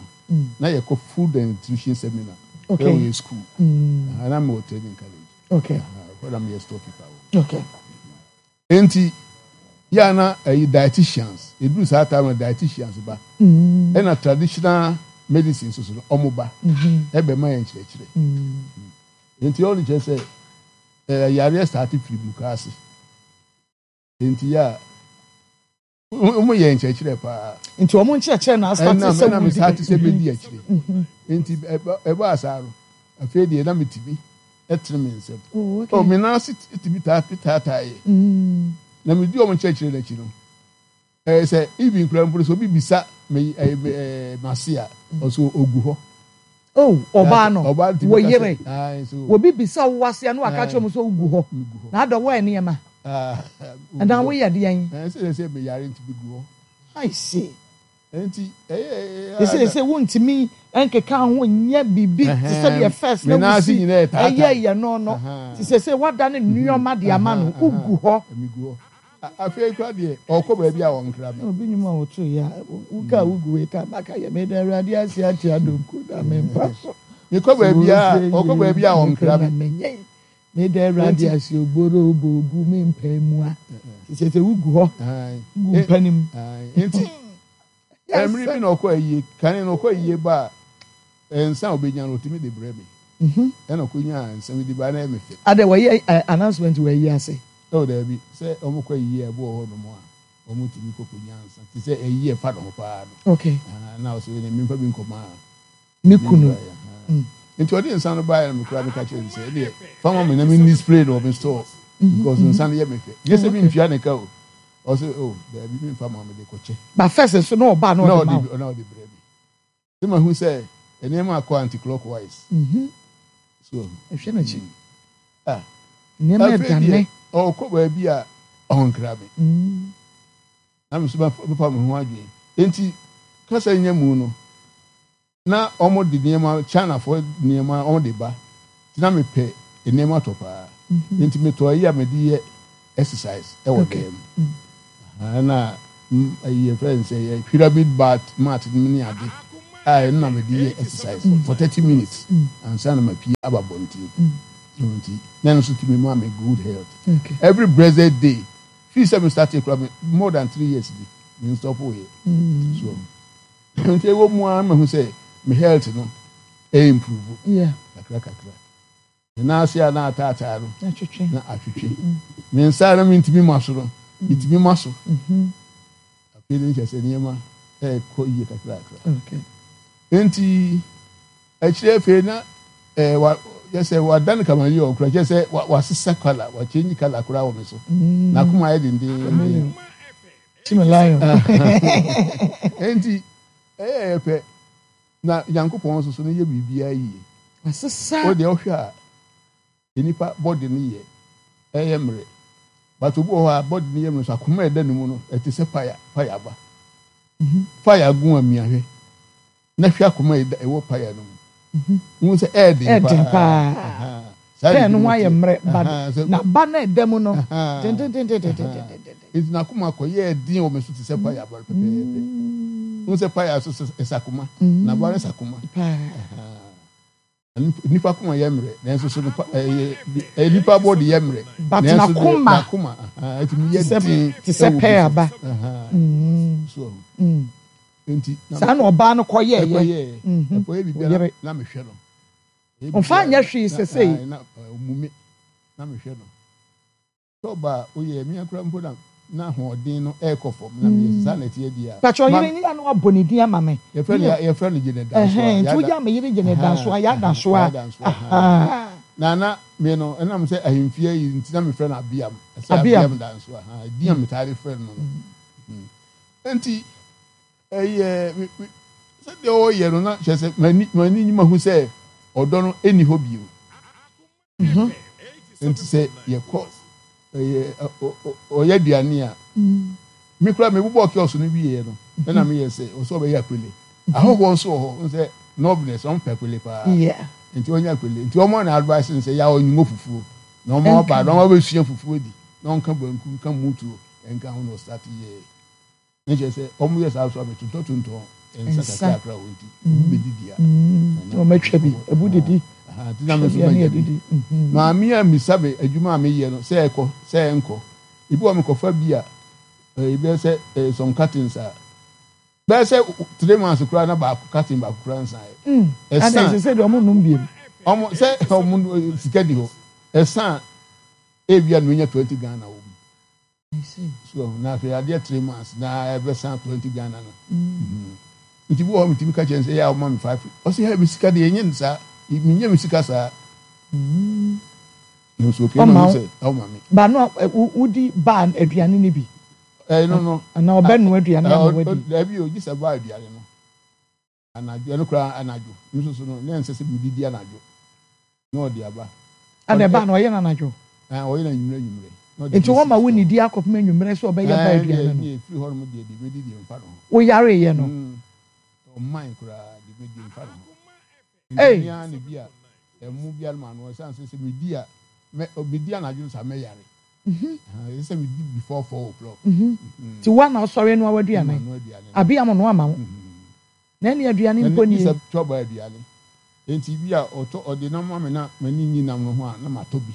Na yɛkɔ food and nutrition seminar. Okay. Ɛwɔ yɛ school. Na mewɔ training college. Okay. Ɛhɔ na meyɛ storekeeper wɔ. Okay. Enti, yɛ a na ɛyi dietitians, eduru saa time no dietitians ba, ɛna traditional medicine nso so no, wɔn ba, ɛbɛma yɛn nkyerɛkyerɛ. Enti ɔno kyerɛ sɛ ɛɛ yareɛ start firi mukaase. Enti yɛ a wɔn yɛ nkyerɛkyerɛ paa. Nti wɔn nkyerɛkyerɛ na asate sɛ wodi. Ɛna me start sɛ medi akyire. Enti ɛbaa saa no, afei deɛ na metumi. tene me nsam. Oh, okay. Oh, me nan ase tumi taa taataeɛ. Na medi wɔn nkyerɛkyerɛ no akyi no, ɛyɛ sɛ even kura mpo sɛ obi bisa me ɛɛ ɛɛ m'ase a, ɔso ogu hɔ. Oh, ɔbaa no, wɔ yere. Obi bisa wo ase a na waka kyerɛ mu sɛ ogu hɔ. Na adɔ wɔ nneɛma. Ɛna woyɛ deɛn? Ɛsɛ sɛ meyare nti megu hɔ. I see. Enti ɛyɛ. Seesei wontumi nkeka ho nyɛ biribi te sɛ deɛ first na wosi ɛyɛ yɛ no no. Te seesei woadane nneɛma de ama no, wogu hɔ. Megu hɔ. Afei koraa deɛ ɔkɔ baabi a ɔnkra me. Obi nnwom a wɔto yi a, woka a wogu wei ka maka yɛ meda Awurade ase ate adonko da me mpa so. Mekɔ baabi a ɔkɔ baabi a ɔnkra me. Meda Awurade ase ogboro obogu me mpa mua. Te sɛ sɛ wogu hɔ gu mpa no mu. Nti mmere bi na ɔkɔ ayie kane na ɔkɔ ayie ba a nsa a ɔbɛnya no ɔtumi de brɛ me. Mhm. Ɛna ɔkɔnyaa nsa bi de ba na ɛyɛ me fɛ. Adɛ wɔyɛ announcement wɔ ayie ase? Oh daabi sɛ wɔkɔ ayie a ɛbi wɔ hɔ nom a wɔtumi kɔ kɔnya nsa te sɛ ayie ɛfa ne ho paa no. Okay. Na ɔsɛ wei memfa bi nkɔma Ne kunu. Nti ɔde nsa no baeɛ na mekura meka kyerɛ no sɛ ɛdeɛ fa ma me na me display no wɔ me store mm-hmm. because nsa no yɛ me fɛ nyɛ sɛ mentua ne ka o ɔsɛ o oh, daabi memfa ma me de kɔkyɛ. Ba first nso na ɔba na ɔde ma wo. Na ɔde brɛ me. Sɛ mahu sɛ nneɛma akɔ anti clockwise. Mm-hmm. So ɛhwɛ n'akyi. Mm. Ah. Nneɛma ɛdane. Ɔkɔ baabi a ɔnkra me. Mm. Na me nso mɛfa me ho adwene. Enti kasa nya mu no, na wɔde nneɛma, Chinafoɔ nneɛma wɔde ba. Nti na mepɛ nneɛma tɔ paa. Nti metɔ ayi a mede yɛ exercise wɔ dan mu. Ɛna Ɛyi yɛfrɛ no sɛ yɛ pyramid bat mat no ne ade a ɛno na mede yɛ exercise for 30 minutes ansa na mapie aba abɔnten. Nti na ɛno nso tumi ma me good health. Every blessed day fii sɛ me start kura me more than 3 years bi me stop yɛ. So nti ɛwɔ mu ara mahu sɛ me health no ɛ improve kakra kakra. Me nan ase a na ataataa no na atwetwe. Me nsa a na mentumi ma so no, metumi ma so. Afei de kyerɛ sɛ nneɛma ɛrekɔ yie kakrakra. Nti akyire afei na ɛɛ wa yɛ sɛ wadan kamaleon kora kyerɛ sɛ wasesa kala wakyɛnyi kala koraa wɔ me so. N'akoma ayɛ dendenden. Nti ɛyɛ yɛ pɛ. Na Nyankopɔn nso so no yɛ biribiara yie. Asesa. Wo deɛ wohwɛ a nnipa body no yɛ ɛyɛ mmerɛ but obi wɔ hɔ a body no yɛ mmerɛ nso akoma a ɛda ne mu no ɛte sɛ paya paya aba. Paya gu a mia hwɛ na hwɛ akoma a ɛwɔ paya no mu. Wohu sɛ ɛɛden paa. Pɛɛ no ho ayɛ mmerɛ ba na ba no ɛda mu no tentententententen. Enti n'akoma kɔyɛɛ den wɔ me so te sɛ paya aba pɛpɛɛpɛ. Wohu sɛ paya nso ɛsɛ akoma, na aba no sɛ akoma. Nipa akoma yɛ mmerɛ, nanso so nipa ɛyɛ nipa bɔ de yɛ mmerɛ. But n'akoma n'akoma ɛtumi yɛ den te sɛ pɛɛ aba. So nti saa na ɔbaa no kɔyɛɛyɛ. Ɛkɔyɛɛ ɛkɔyɛ biribiara na mehwɛ no. Ɔmfa nyɛ hwee sesei. Na ɔmu me na mehwɛ no. Sɛ ɔba a oyɛ me koraa mpo na n'ahoɔden no ɛrekɔ fam na meyɛ sɛ saa na ɛteɛ deɛ a. Pakyɛ ɔyere ne yɛ na wabɔ ne din ama me. Yɛfrɛ no yɛfrɛ no Janet Dansoa. Ɛhɛn nti woyɛ me yere Janet Dansoa Yaa Dansoa. Ahaa. Na na me no ɛnam sɛ ahemfie yi nti na mefrɛ no Abiam. Ɛsɛ Abiam Dansoa. Din a metaa de frɛ no no. Nti ɛyɛ sɛdeɛ ɔyɛ no na kyerɛ sɛ m'ani m'ani nyi mahu sɛ ɔdɔ no ɛnni hɔ bio. Nti sɛ yɛkɔ ɛyɛ ɔyɛ aduane a me kura me bobɔ kiosk no wieɛ no ɛna meyɛ sɛ ɔsɛ ɔbɛyɛ akwele ahɔhoɔ nso wɔ hɔ sɛ nɔbnɛs ɔmo pɛ akwele paa nti ɔnyɛ akwele nti ɔmo na advice no sɛ yɛ ɔnyingo fufuo na ɔmo aba na ɔmo abɛsua fufuo di na ɔnka banku nka mutuo nka ho na ɔstart yɛ. Ne kyerɛ sɛ wɔn yɛ saa nso a bɛtontɔtontɔn nsa kakrakra wɔ nti ebi bɛdidi a. Wɔn atwa bi ebu didi. Nti na me nso manya bi. Maame a misa me adwuma a meyɛ no sɛ ɛkɔ sɛ ɛnkɔ. Ebi wɔ mekɔfa bi a ebi sɛ some cartons a bɛyɛ sɛ 3 months koraa na baako carton baako koraa nsan yɛ. Ɛsan sɛ deɛ wɔn nom biem. Wɔn sɛ wɔn sika di hɔ ɛsan ebi a na onya 20 Ghana wɔ mu. So na afei adeɛ 3 months na ɛbɛsan 20 Ghana no. Nti bi wɔ hɔ metumi ka kyerɛ no sɛ yɛ a ɔma me five. Ɔsɛ yɛ me sika deɛ ɛnyɛ no saa. Menyɛ me sika saa. Nso okay ma sɛ ɔma me. Ba no wodi ba aduane no bi. Ɛno no. Anaa ɔbɛnoa aduane ama wadi. Dabi o gye sɛ ba aduane no. Anadwo, ɛno koraa anadwo nso so no, na ɛnsɛ sɛ medidi anadwo. Na ɔde aba. Ɛna ɛba no, ɔyɛ no anadwo? Ɛɛ, ɔyɛ no anwummerɛ anwummerɛ. Na ɔde Nti bɛsi wɔma store. wonnidi akɔpem anwummerɛ sɛ ɔbɛyɛ ba Ɛɛ, aduane deɛ no? deɛ ɛfiri hɔ nom deɛ, deɛ mɛdi deɛ mfa ne ho. Woyareeɛ no? Mm, ɔmman koraa, deɛ mɛdi mfa ne ho. Nti Ei! me ara na bi a, ɛmo biara ma ano, ɛsiane sɛ sɛ medi a, mɛ, medi anadwo no saa mɛyare. Ɛsɛ sɛ medi before 4 o'clock. Nti wo a na wosɔre noa w'aduane? Manoa aduane no. Abia mo noa ma wo? Na ɛne aduane mpo nie. Sɛ twɔba aduane. Nti bi a ɔtɔ ɔde nam ma me na m'ani nyi nam no ho a na matɔ bi.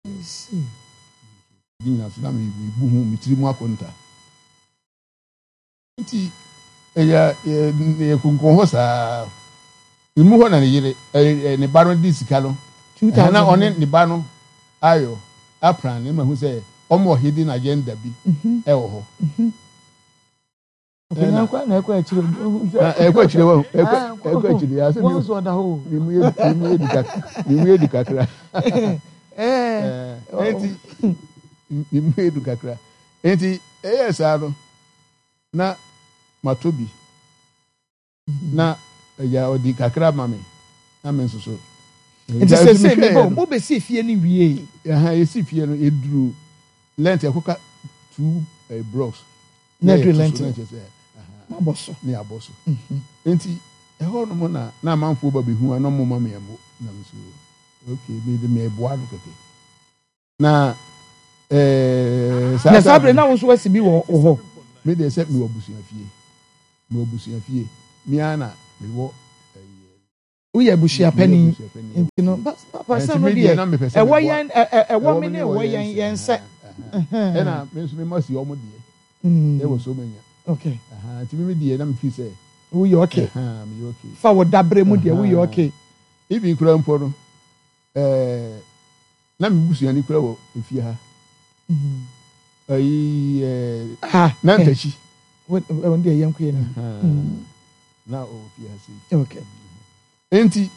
Ne nyinaa so na mebu ho me tiri mu akonta. Nti ɛyɛ yɛ kunkun hɔ saa. Emu hɔ na ne yere ne ba no de sika no. Na ɔne ne ba no ayɔ apran ne ma hu sɛ ɔmo hidden agenda bi ɛwɔ hɔ. Akonnwa nkwa na ɛkɔ akyire ɛkɔ akyire wɔ ɛkɔ ɛkɔ akyire yɛ asɛ mi wɔn so ɔda hɔ mi mu yɛ mi mu yɛ du kakra mi mu yɛ du kakra ɛɛ nti mi mu yɛ du kakra nti ɛyɛ saa no na ma to bi na ɛyà ɔdi kakra ma mi na mi nso so. Nti sese mi bɔ mo bɛ si fie ni wie. Ɛhɛn yɛ si fie no eduru lɛnti ɛkɔka two blocks. Na ɛduru lɛnti mabɔ so. Ne abɔ so. Nti ɛhɔ nom na na amanfoɔ ba bɛhu a na ɔmo ma me ɛmo na me so okay me de me ɛboa no kɛkɛ na saa. Na saa bere na wo nso wasi bi wɔ hɔ. Me deɛ sɛ mewɔ abusua fie. Mewɔ abusua fie. Me ara na mewɔ ɛyi. Woyɛ abusua panin nti no papa sɛ no deɛ ɛwɔ yɛn ɛwɔ me ne ɛwɔ yɛn yɛn sɛ. Ɛna me nso me ma si wɔn deɛ. Ɛwɔ so menya. Okay. Nti me deɛ na me fi sɛ. Woyɛ okay. Meyɛ okay. Fa wo dabrɛ mu deɛ woyɛ okay. Even kura mpo no ɛɛ na me busuani kura wɔ efie ha. Ayi ɛɛ na ntakyi. Wɔn deɛ yɛn kɔ yɛn ni. Na ɔwɔ fie ha sei. Okay. Nti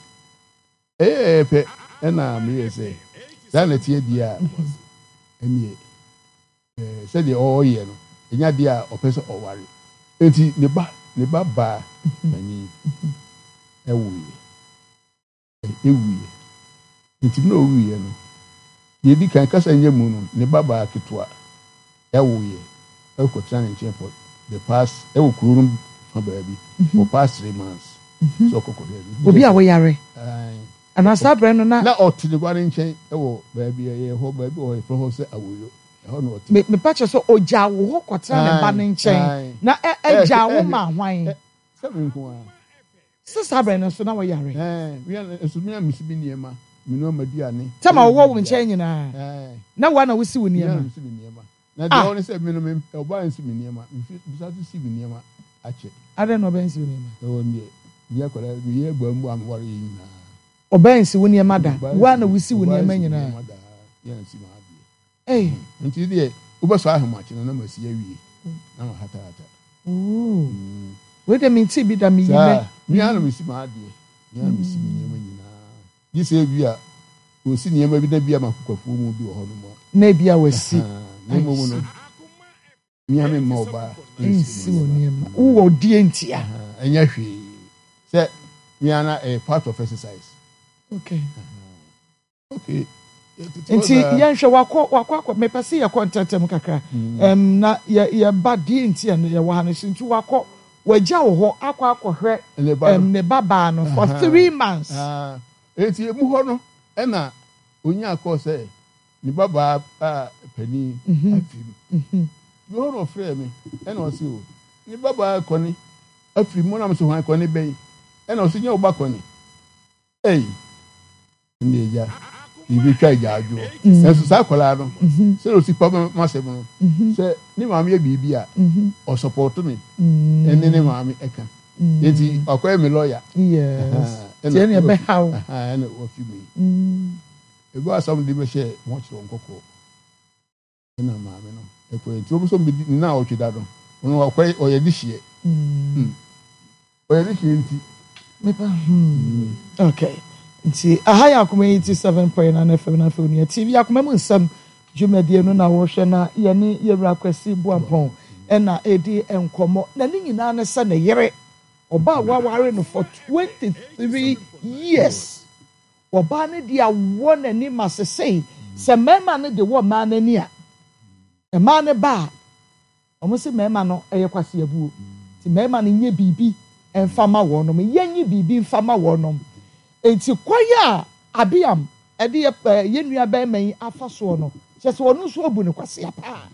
ɛyɛ pɛ ɛna meyɛ sɛ saa na ɛteɛ deɛ a ɛneɛ sɛdeɛ ɔyɛ no ɛnya adeɛ a ɔpɛ sɛ ɔware. Nti ne ba ne ba baa panin ɛwoeɛ. Ɛwuiɛ. Enti berɛ a ɔwuiɛ no, deɛ ɛdi kan, kasa nyɛ mu no, ne babaa ketewa woeɛ kɔtenaa ne nkyɛn for the past, ɛwɔ kuro no fa baabi, for past 3 months. Sɛ ɔkɔ kɔhwɛ no. Obi a woyare? Anaa saa berɛ no na. Na ɔte ne ba no nkyɛn wɔ baabi, ɛyɛ hɔ, baabi wɔ hɔ, yɛfrɛ hɔ sɛ Awoyo. Ɛhɔ na ɔte. Mepa kyɛ sɛ ɔgyaa wo hɔ kɔtena ne ba no nkyɛn, na ɛgyaa wo maa hwan? Sɛ me nko ara. Sɛ saa berɛ no nso na woyare. Ɛɛ, me ara nso me ara mesi me nneɛma, menoa m'aduane. Tam a wɔwɔ wo nkyɛn nyinaa, na wo ara na wosi wo nneɛma. Me ara na mesi me nneɛma. Na deɛ ɔwɔ ne sɛ, me no, me, ɔbaa nsi me nneɛma. Mefi, mesan nso si me nneɛma akyɛ. Adɛn na ɔbaa nsi wo nneɛma? Ɛwɔ deɛ, me akwadaa, meyɛ aguammu a meware yɛ nyinaa. Ɔbaa nsi wo nneɛma da, wo ara na wosi wo nneɛma nyinaa. Ɔbaa nsi me nneɛma da, me ara na mesi m'adeɛ. Ei. Nti deɛ wobɛsɔ ahomakye no na masi awie na mahatahata. Ooh. Wei deɛ mentee bi da meyi nɛ. Saa, me ara na mesi m'adeɛ, me ara na mesi me nneɛma nyinaa. Gye sɛ ebi a wɔsi nneɛma bi na bi a m'akokwafuo mu bi wɔ hɔnom a. Na ebi a wɔasi. Na mmom no, me ara memma ɔbaa nsi wo nneɛma. Wowɔ deɛ ntia. Ɛnyɛ hwee sɛ me ara na ɛyɛ part of exercise. Okay. Okay. Nti yɛnhwɛ wakɔ wakɔ akɔ mepɛ sɛ yɛkɔ ntɛntɛm kakra mm. um, na yɛ yɛba deɛ nti a yɛwɔ ha no so nti wakɔ wagya wɔ hɔ akɔ akɔhwɛ um, ne ba baa no for 3 months. Nti emu hɔ no ɛna onya kɔɔ sɛ ne ba baa a panin afiri mu. Bi hɔ na ɔfrɛɛ me ɛna ɔse o ne ba baa kɔne afiri mu na mo sɛ hwan kɔne bɛyi ɛna ɔse nyɛ wo ba kɔne. Ei, ɛnna agya, yɛbɛtwa agya adwoɔ. Nanso saa akwadaa no, sɛdeɛ ɔsi pa m'asɛm no, sɛ ne maame yɛ biribi a, ɔsɔpɔto me ɛne ne maame ɛka. Nti ɔkɔyɛ me lɔya. Yes. Nti ɛnna ɛbɛha wo. Ɛnna wafi mu yi. Ebi asɛm de bɛhyɛ wɔn kyerɛ wɔn kɔkɔɔ. Ɛna maame no ɛkɔɛ nti wɔn nso bɛdi ne naawɔtwe da no ɔno ɔkɔɛ ɔyɛ de hyeɛ ɔyɛ de hyeɛ nti. Mepa okay nti aha yɛ Akoma 87.9 FM na afei onua TV Akoma mu nsɛm dwumadie no na wɔhwɛ na yɛne yɛwura Kwasi Boampɔn ɛna ɛdi nkɔmmɔ na ne nyinaa ne sɛ ne yere ɔbaa waware no for 23 years. Ɔbaa no de awɔ n'ani ma sesei sɛ mmarima no de wɔ mmaa no ani a, mmaa no ba a, wɔn se mmarima no yɛ kwaseabuo. Nti mmarima no nyɛ biribi mfa ma wɔnom, yɛnye biribi mfa ma wɔnom. Nti kwan a Abiam de yɛ yɛn nua barima yi afa soɔ no, kyerɛ sɛ ɔno nso abu no kwasea paa.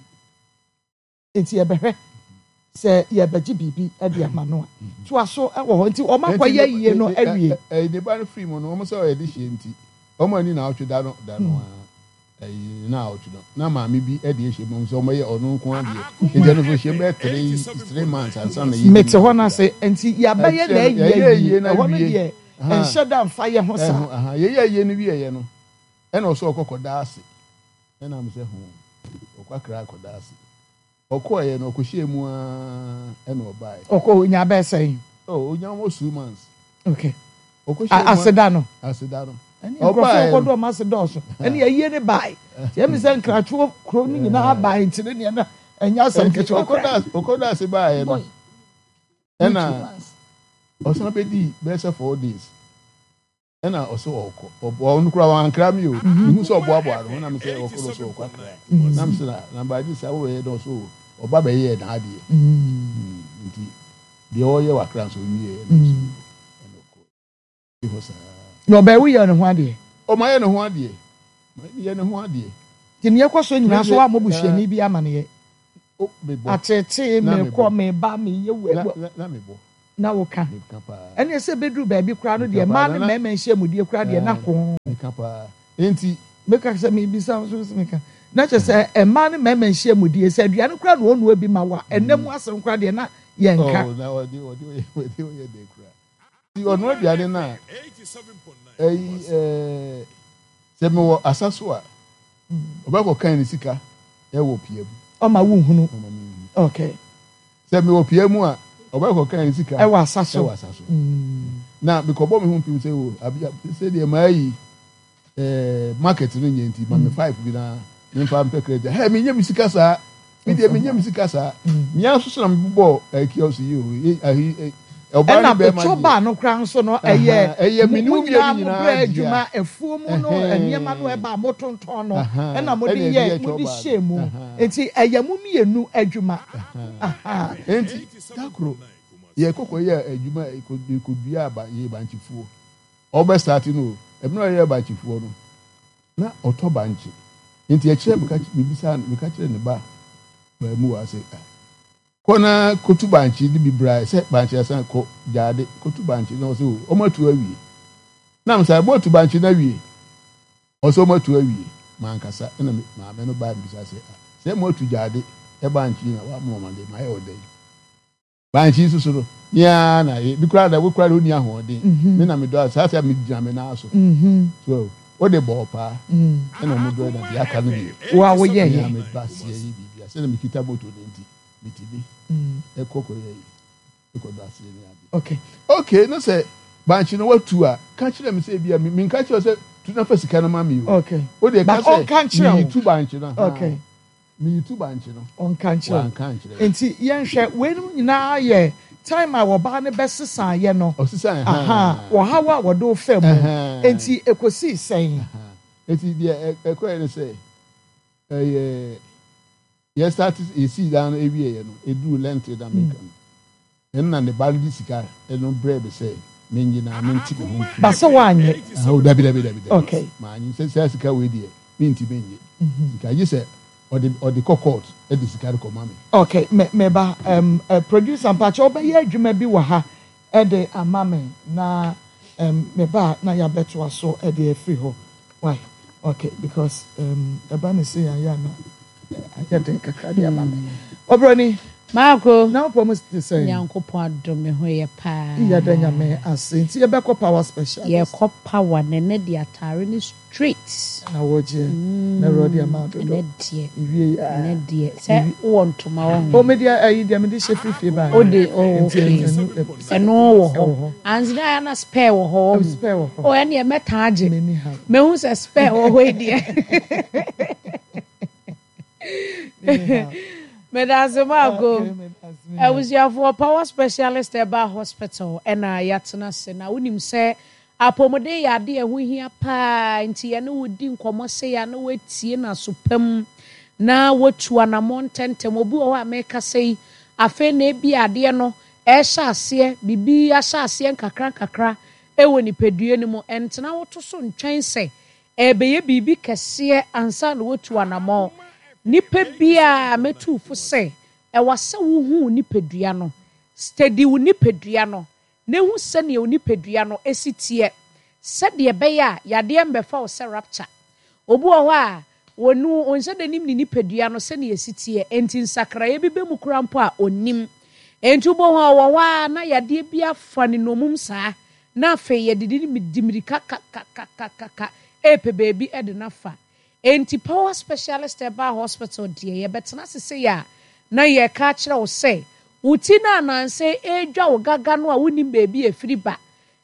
Nti yɛbɛhwɛ sɛ yɛbɛgye biribi de ama no a. Toa so wɔ hɔ. Nti wɔn akɔyɛ ayie no awie. Ɛyi ne ba no firi mu no, wɔn sɛ ɔyɛ dehyeɛ nti, wɔn ani naawɔtwe da no da no ara, ɛyi naawɔtwe no, na maame bi de ahyɛ mu sɛ wɔyɛ ɔno nko ara deɛ. Nti ɛno nso hyɛ mu bɛyɛ 3 months ansa na yɛdi. Mete hɔ no ase, nti yɛabɛyɛ n'ayie awie. Ɛhɔ no deɛ, nhyɛ da mfa yɛ ho saa. Yɛyɛ ayie no wieɛ no, ɛna ɔsɛ ɔkɔ kɔda ase. Ɛna me sɛ ho, ɔkɔ Accra akɔda ase. Ɔkɔeɛ no, ɔkɔhyɛɛ mu ara ɛna ɔbaeɛ. Ɔkɔ ɔnya bɛyɛ sɛn? Oh, ɔnya almost 2 months. Okay. Ɔkɔhyɛɛ mu Aseda no. Aseda no. Ɛne nkurɔfoɔ kɔdɔ ɔmo ase dɔɔso. Ɛne ayie ne bae. Nti ɛmi sɛ nkratwoɔ kuro no nyinaa bae nti ne neɛ na ɛnyɛ asɛm ketewa koraa. Ɔkɔda ase baeɛ no, ɛna ɔsan bɛdii bɛyɛ sɛ 4 days. Ɛna ɔsɛ ɔkɔ ɔno koraa wankra mi o mehu sɛ ɔboaboa no ho na mesɛ ɔkɔ no so ɔkɔ akra na mesɛ na na baagye sɛ wobɛyɛ dɛ ɔso ɔba bɛyɛɛ n'adeɛ nti deɛ ɔyɛ wɔ akra nso ɔnwieɛ na mesɛ ɛna ɔkɔ hɔ saa. Na ɔbɛyɛ woyɛ ne ho adeɛ. Ɔmayɛ ne ho adeɛ, mayɛ ne ho adeɛ. Nti neɛ ɛkɔ so nyinaa so woammɔ busuani bi amaneɛ? O, mebɔ. Ateetee, Na mekɔ, mebɔ. meba, meyɛ wei, Na, wɔ. na, na mebɔ. Na woka. Meka paa. Ɛnneɛ sɛ ɛbɛduru baabi koraa no Meka deɛ, paa. mmaa Na, ne na, mmarima nhyiamudie koraa deɛ, na ɛɛ, ko. meka paa. Enti. Meka sɛ mebisa wo nso wo se meka. Na kyerɛ sɛ mmaa ne mmarima nhyiamudie, sɛ aduane koraa na ɔnoa bi ma wo a, ɛnna mu asɛm koraa deɛ na yɛnka. Oh, na ɔde, ɔde, ɔyɛ, ɔde, ɔyɛ dɛ koraa. Nti ɔnoa aduane no a, ɛyi, ɛɛ, sɛ mewɔ asa so a, ɔbɛkɔ kan ne sika ɛwɔ pia mu. Ɔma wo nhunu. Ɔma me nhunu. Okay. Sɛ mewɔ pia mu a, ɔbɛkɔ kan ne sika ɛwɔ asa so. Ɛwɔ asa so. Na mekɔbɔ me ho mpem sɛ o, abia, sɛ deɛ maa yi, ɛɛ, market no nyɛ nti, ma me 5 bi na memfa mpɛ credit. Hɛ, menyɛ me sika saa. Me deɛ menyɛ me sika saa. Mea nso so na mebobɔ ɛɛ kiosk yi o. Ye, ahi, ɛ, ɔbaa ne Ɛna bɛrima ɛtɔ deɛ. baa no koraa nso no, Aha, ɛyɛ ɛyɛ mo me ne mo wo mmienu nyinaa mo nyinaa brɛ dea. adwuma, afuo mu no nneɛma no Ɛhɛn. ɛba a motontɔn no, Aha, ɛna mode ɛna ɛde yɛ yɛ mode twɔ baa hyɛɛ no. mu. Aha. Nti ɛyɛ mo mmienu adwuma. Aha. Aha. Enti da koro yɛkɔ kɔyɛɛ adwuma, yɛkɔ, yɛkɔduaa ba, yɛyɛ bankyefuo. Ɔbɛ start no o, ɛberɛ a ɔyɛ bankyefuo no, na ɔtɔ bankye. Nti ɛkyerɛ meka, mebisa, meka kyerɛ ne ba baamuwa sɛ, ah, kɔ na kɔtu bankye de bi bra, sɛ bankye asan kɔ gyaade, kɔtu bankye. Na ɔsɛ o, ɔmo atu awie. Na mesɛ, mo atu bankye no awie? Ɔsɛ ɔmo atu awie. Mankasa, ɛna me maame no baa mbisa sɛ, ah, sɛ mo atu gyaade bankye na wamoma ma de, mayɛ ɔdɛn? Bankye nso so no, me ara na ye. Bi koraa da, wo koraa de wonni ahoɔden. Me na medɔ a, saa sɛ megyina me nan so. So, wode bɔɔ paa. Ɛna wɔn dɔ na deɛ aka no deɛ. Wo a woyɛ Me yɛ. a meba seɛ yi biribi a, sɛdeɛ mekita moto no nti, metumi ɛkɔ kɔyɛ yi, ɛkɔdɔ aseɛ ne adeɛ. Okay. Okay, na sɛ bankye no watu a, ka kyerɛ me sɛ ebi a, menka kyerɛ wo sɛ tu na fa sika no ma me o. Okay. Wo deɛ ka But sɛ, ɔnka nkyerɛ wo. meyi tu bankye no. Okay. Meyi tu bankye no. Ɔnka nkyerɛ wo. Wanka ankyerɛ me. Nti yɛnhwɛ, weinom nyinaa yɛ time a ɔbaa no bɛsesaeɛ no. Ɔsesaeɛ, Ahaa, ahaa. ɔhaw a wɔde wo faa mu. Ahaa. Nti ɛkɔsii sɛn? Ahaa. Nti deɛ ɛkɔeɛ ne sɛ, ɛyɛ, yɛ start, yɛsii dan no wieeɛ no, ɛduruu lentil na meka no. Ɛnna ne ba no de sika no brɛɛ me sɛ mennye na mente me ho mfiri. Ba sɛ woannye? Oh, dabi, dabi, dabi, dabi. Okay. Mannye. Sɛ saa sika wei deɛ, mentumi nnye. Sika gye sɛ ɔde ɔde kɔ court de sika no kɔma me. Okay, me me ba, um, uh, producer mpakyɛ wobɛyɛ adwuma bi wɔ ha de ama me na um, me ba a na yɛabɛtoa so de afiri hɔ. Why? Okay, because um, ɛba ne sei ayɛ a na ayɛ den kakra de ama me. Ɔbrɔni. Maako. Na wopɔ mu te sɛn? Nyankopɔn adom me ho yɛ paa. Yɛda Nyame ase. Nti yɛbɛkɔ power specialist. Yɛkɔ power na ɛnɛ deɛ ataare no straight. Na wɔgyeɛ. Na awurade ama dodo. Ɛnɛ deɛ. Ewie yi aa. Ɛnɛ deɛ. Sɛ wowɔ ntoma wɔ ho. O me deɛ ɛyi deɛ mede hyɛ firi fie baa. O de o okay. Ɛno wɔ hɔ. Anzi na ayɛ na spare wɔ hɔ wɔ ho. Spare wɔ hɔ. O ɛnneɛ mɛtaa agye. M'ani ha. Mehu sɛ spare wɔ hɔ yi deɛ. Medase Maako. Abusuafoɔ Power Specialist Herbal Hospital ɛna yɛatena ase na wonim sɛ apɔmuden yɛ adeɛ ɛho hia paa nti yɛne wo di nkɔmmɔ sei a na woatie no aso pa mu na woatu anammɔn ntɛntɛm. Obi wɔ hɔ a mekasa yi afei na ebi adeɛ no ɛrehyɛ aseɛ biribi ahyɛ aseɛ nkakra nkakra ɛwɔ nipadua no mu. Ɛntena wo to so ntwɛn sɛ Ɛrebɛyɛ biribi kɛseɛ ansa na woatu anammɔn. Nipa biara, mɛtu wo fo sɛ, ɛwɔ sɛ wohu wo nipadua no. Steady wo nipadua no, na hu sɛdeɛ wo nipadua no si teɛ, sɛdeɛ ɛbɛyɛ a yadeɛ mmɛfa wo sɛ rapture. Obi wɔ hɔ a, ɔno ɔnhyɛ da nim ne nipadua no sɛdeɛ ɛsi teɛ, enti nsakraeɛ bi ba mu koraa mpo a, ɔnnim. Enti wobɛhu a ɔwɔ hɔ ara na yadeɛ bi afa no nnommum saa, na afei yɛde no di mmirika kakakakakaka repɛ baabi de no afa. Enti Power Specialist Herbal Hospital deɛ, yɛbɛtena ase sei a, na yɛreka akyerɛ wo sɛ, wo ti no a nnansa yi ɛredwa wo gaga no a wonnim baabi a ɛfiri ba.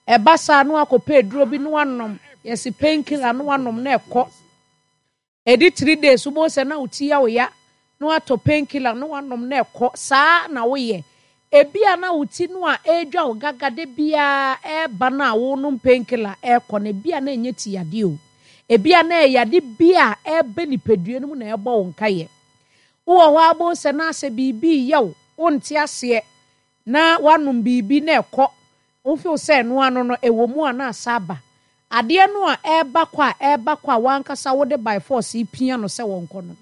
Ɛba saa na woakɔpɛ aduro bi na woanom, yɛse painkiller na woanom na ɛkɔ. Ɛdi three days wobɛhu sɛ na wo ti yɛ wo ya na woatɔ pain killer na woanom na ɛkɔ. Saa na woyɛ. Ebia na wo ti no a ɛredwa wo gaga da biara ɛreba no a worenom pain killer ɛrekɔ no, ebia na ɛnyɛ ti yadeɛ o. Ebia na ɛyɛ yade bi a ɛreba nipadua no mu na ɛrebɔ wo nkaeɛ. Wowɔ hɔ ara wobɛhu sɛ na asɛ biribi reyɛ wo, wonte aseɛ na woanom biribi na ɛkɔ. Wo feel sɛ ɛno ano no ɛwɔ mu a na asa aba. Adeɛ no a ɛreba kɔ a ɛreba kɔ a w'ankasa wode by force repia no sɛ wɔnkɔ no.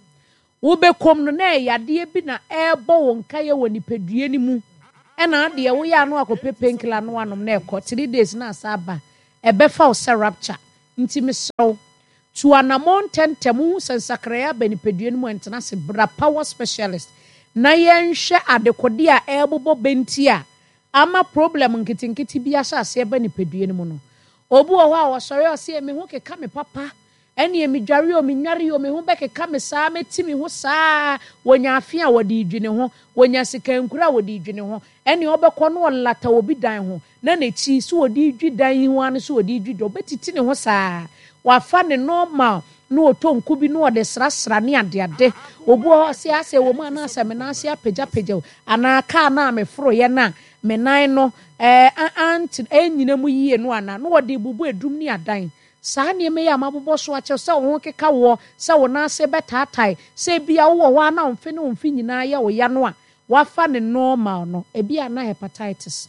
Wobɛkɔm no na ɛyɛ yadeɛ bi na ɛrebɔ wo nkaeɛ wɔ nipadua no mu ɛna adeɛ woyɛ ano akɔpɛ painkiller no anom na ɛkɔ 3 days na asa aba. Ɛbɛfa wo sɛ rupture. Nti mesrɛ wo, tu anammɔn ntɛmntɛm. Wohu sɛ nsakraeɛ aba nipadua no mu a, ntena ase. Bra Power Specialist na yɛnhwɛ adekodeɛ a ɛrebobɔ bɛnti a ama problem nketenkete bi ahyɛ aseɛ ba nipadua no mu no. Obi wɔ hɔ a ɔsɔre a ɔse, me ho keka me papa, ɛneɛ medware o, menware o, me ho bɛkeka me saa, mɛti me ho saa. Wɔnya afe a wɔde redwi ne ho, wɔnya sikankuro a wɔde redwi ne ho, ɛneɛ ɔbɛkɔ na ɔlata obi dan ho, na n'akyi so wɔde redwi dan yi ho ara no so wɔde redwi dɔ, ɔbɛtiti ne ho saa. Wafa ne normal na ɔtɔ nku bi na ɔde srasra ne adeade. Obi wɔ hɔ ɔse asɛ wɔ mu anaasɛ me nan ase apagyapagya o, anaa kaa no a meforoeɛ no a me nan no ɛɛ ante ɛnnyina mu yie no anaa, na ɔde rebubu adum ne adan. Saa nneɛma yi a mabobɔ so akyerɛ sɛ wo ho keka woɔ, sɛ wo nan ase bɛtaatae, sɛ ebia wowɔ hɔ ara na wo mfe ne wo mfe nyinaa yɛ wo ya no a, woafa ne normal no, ebia na hepatitis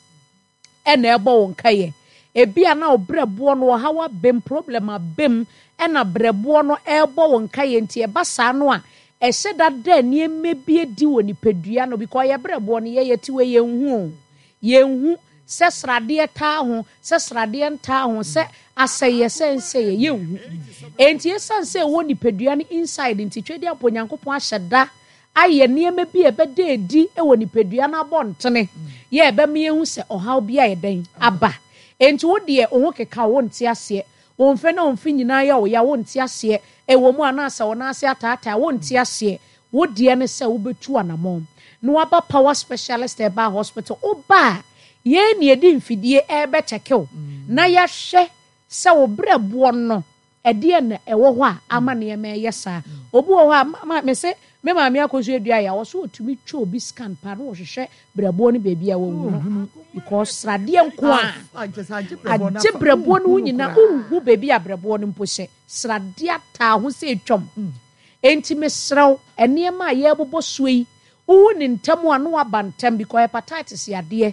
na ɛrebɔ wo nkaeɛ. Ebia na wo berɛboɔ no ɔhaw abam, problem abam, ɛna berɛboɔ no ɛrebɔ wo nkaeɛ nti ɛba saa no a, ɛhyɛ da da nneɛma bi adi wɔ nipadua no because yɛ berɛboɔ no yɛyɛ tiwɛ yɛnhu o. Yɛnhu sɛ sradeɛ taa ho, sɛ sradeɛ ntaa ho, sɛ asɛeɛ sɛ nsɛeɛ, yɛnhu. Enti ɛsiane sɛ ɛwɔ nipadua no inside nti, Twedeɛ mpo Onyankopɔn ahyɛ da ayɛ nneɛma bi a ɛbɛda adi wɔ nipadua no abɔntene yɛ a ɛbɛma yɛahu sɛ ɔhaw bi ayɛ dɛn aba. Enti wo deɛ wo ho keka wo, wonte aseɛ. Wo mfe ne wo mfe nyinaa yɛ wo ya, wonte aseɛ. Ɛwɔ mu anaasɛ wo nan ase ataataa, wonte aseɛ. Wo deɛ ne sɛ wobɛtu anamɔn na woaba Power Specialist Herbal Hospital. Woba a, yɛn na yɛde mfidie rebɛkyɛke wo na yɛahwɛ sɛ wo berɛboɔ no, ɛdeɛn na ɛwɔ hɔ a ama nneɛma reyɛ saa. Obi wɔ hɔ a, ma, mese me maame akɔsu adua yɛ a, ɔse ɔtumi twa obi scan paa na ɔhwehwɛ berɛboɔ no baabi a wawu no because sradeɛ nko a agye berɛboɔ no ho nyinaa, wonhu baabi a berɛboɔ no mpo hyɛ. Sradeɛ ataa ho sɛ atwam. Enti mesrɛ wo, nneɛma a yɛrebobɔ soɔ yi, wohu no ntɛm a na woaba ntɛm because hepatitis yadeɛ,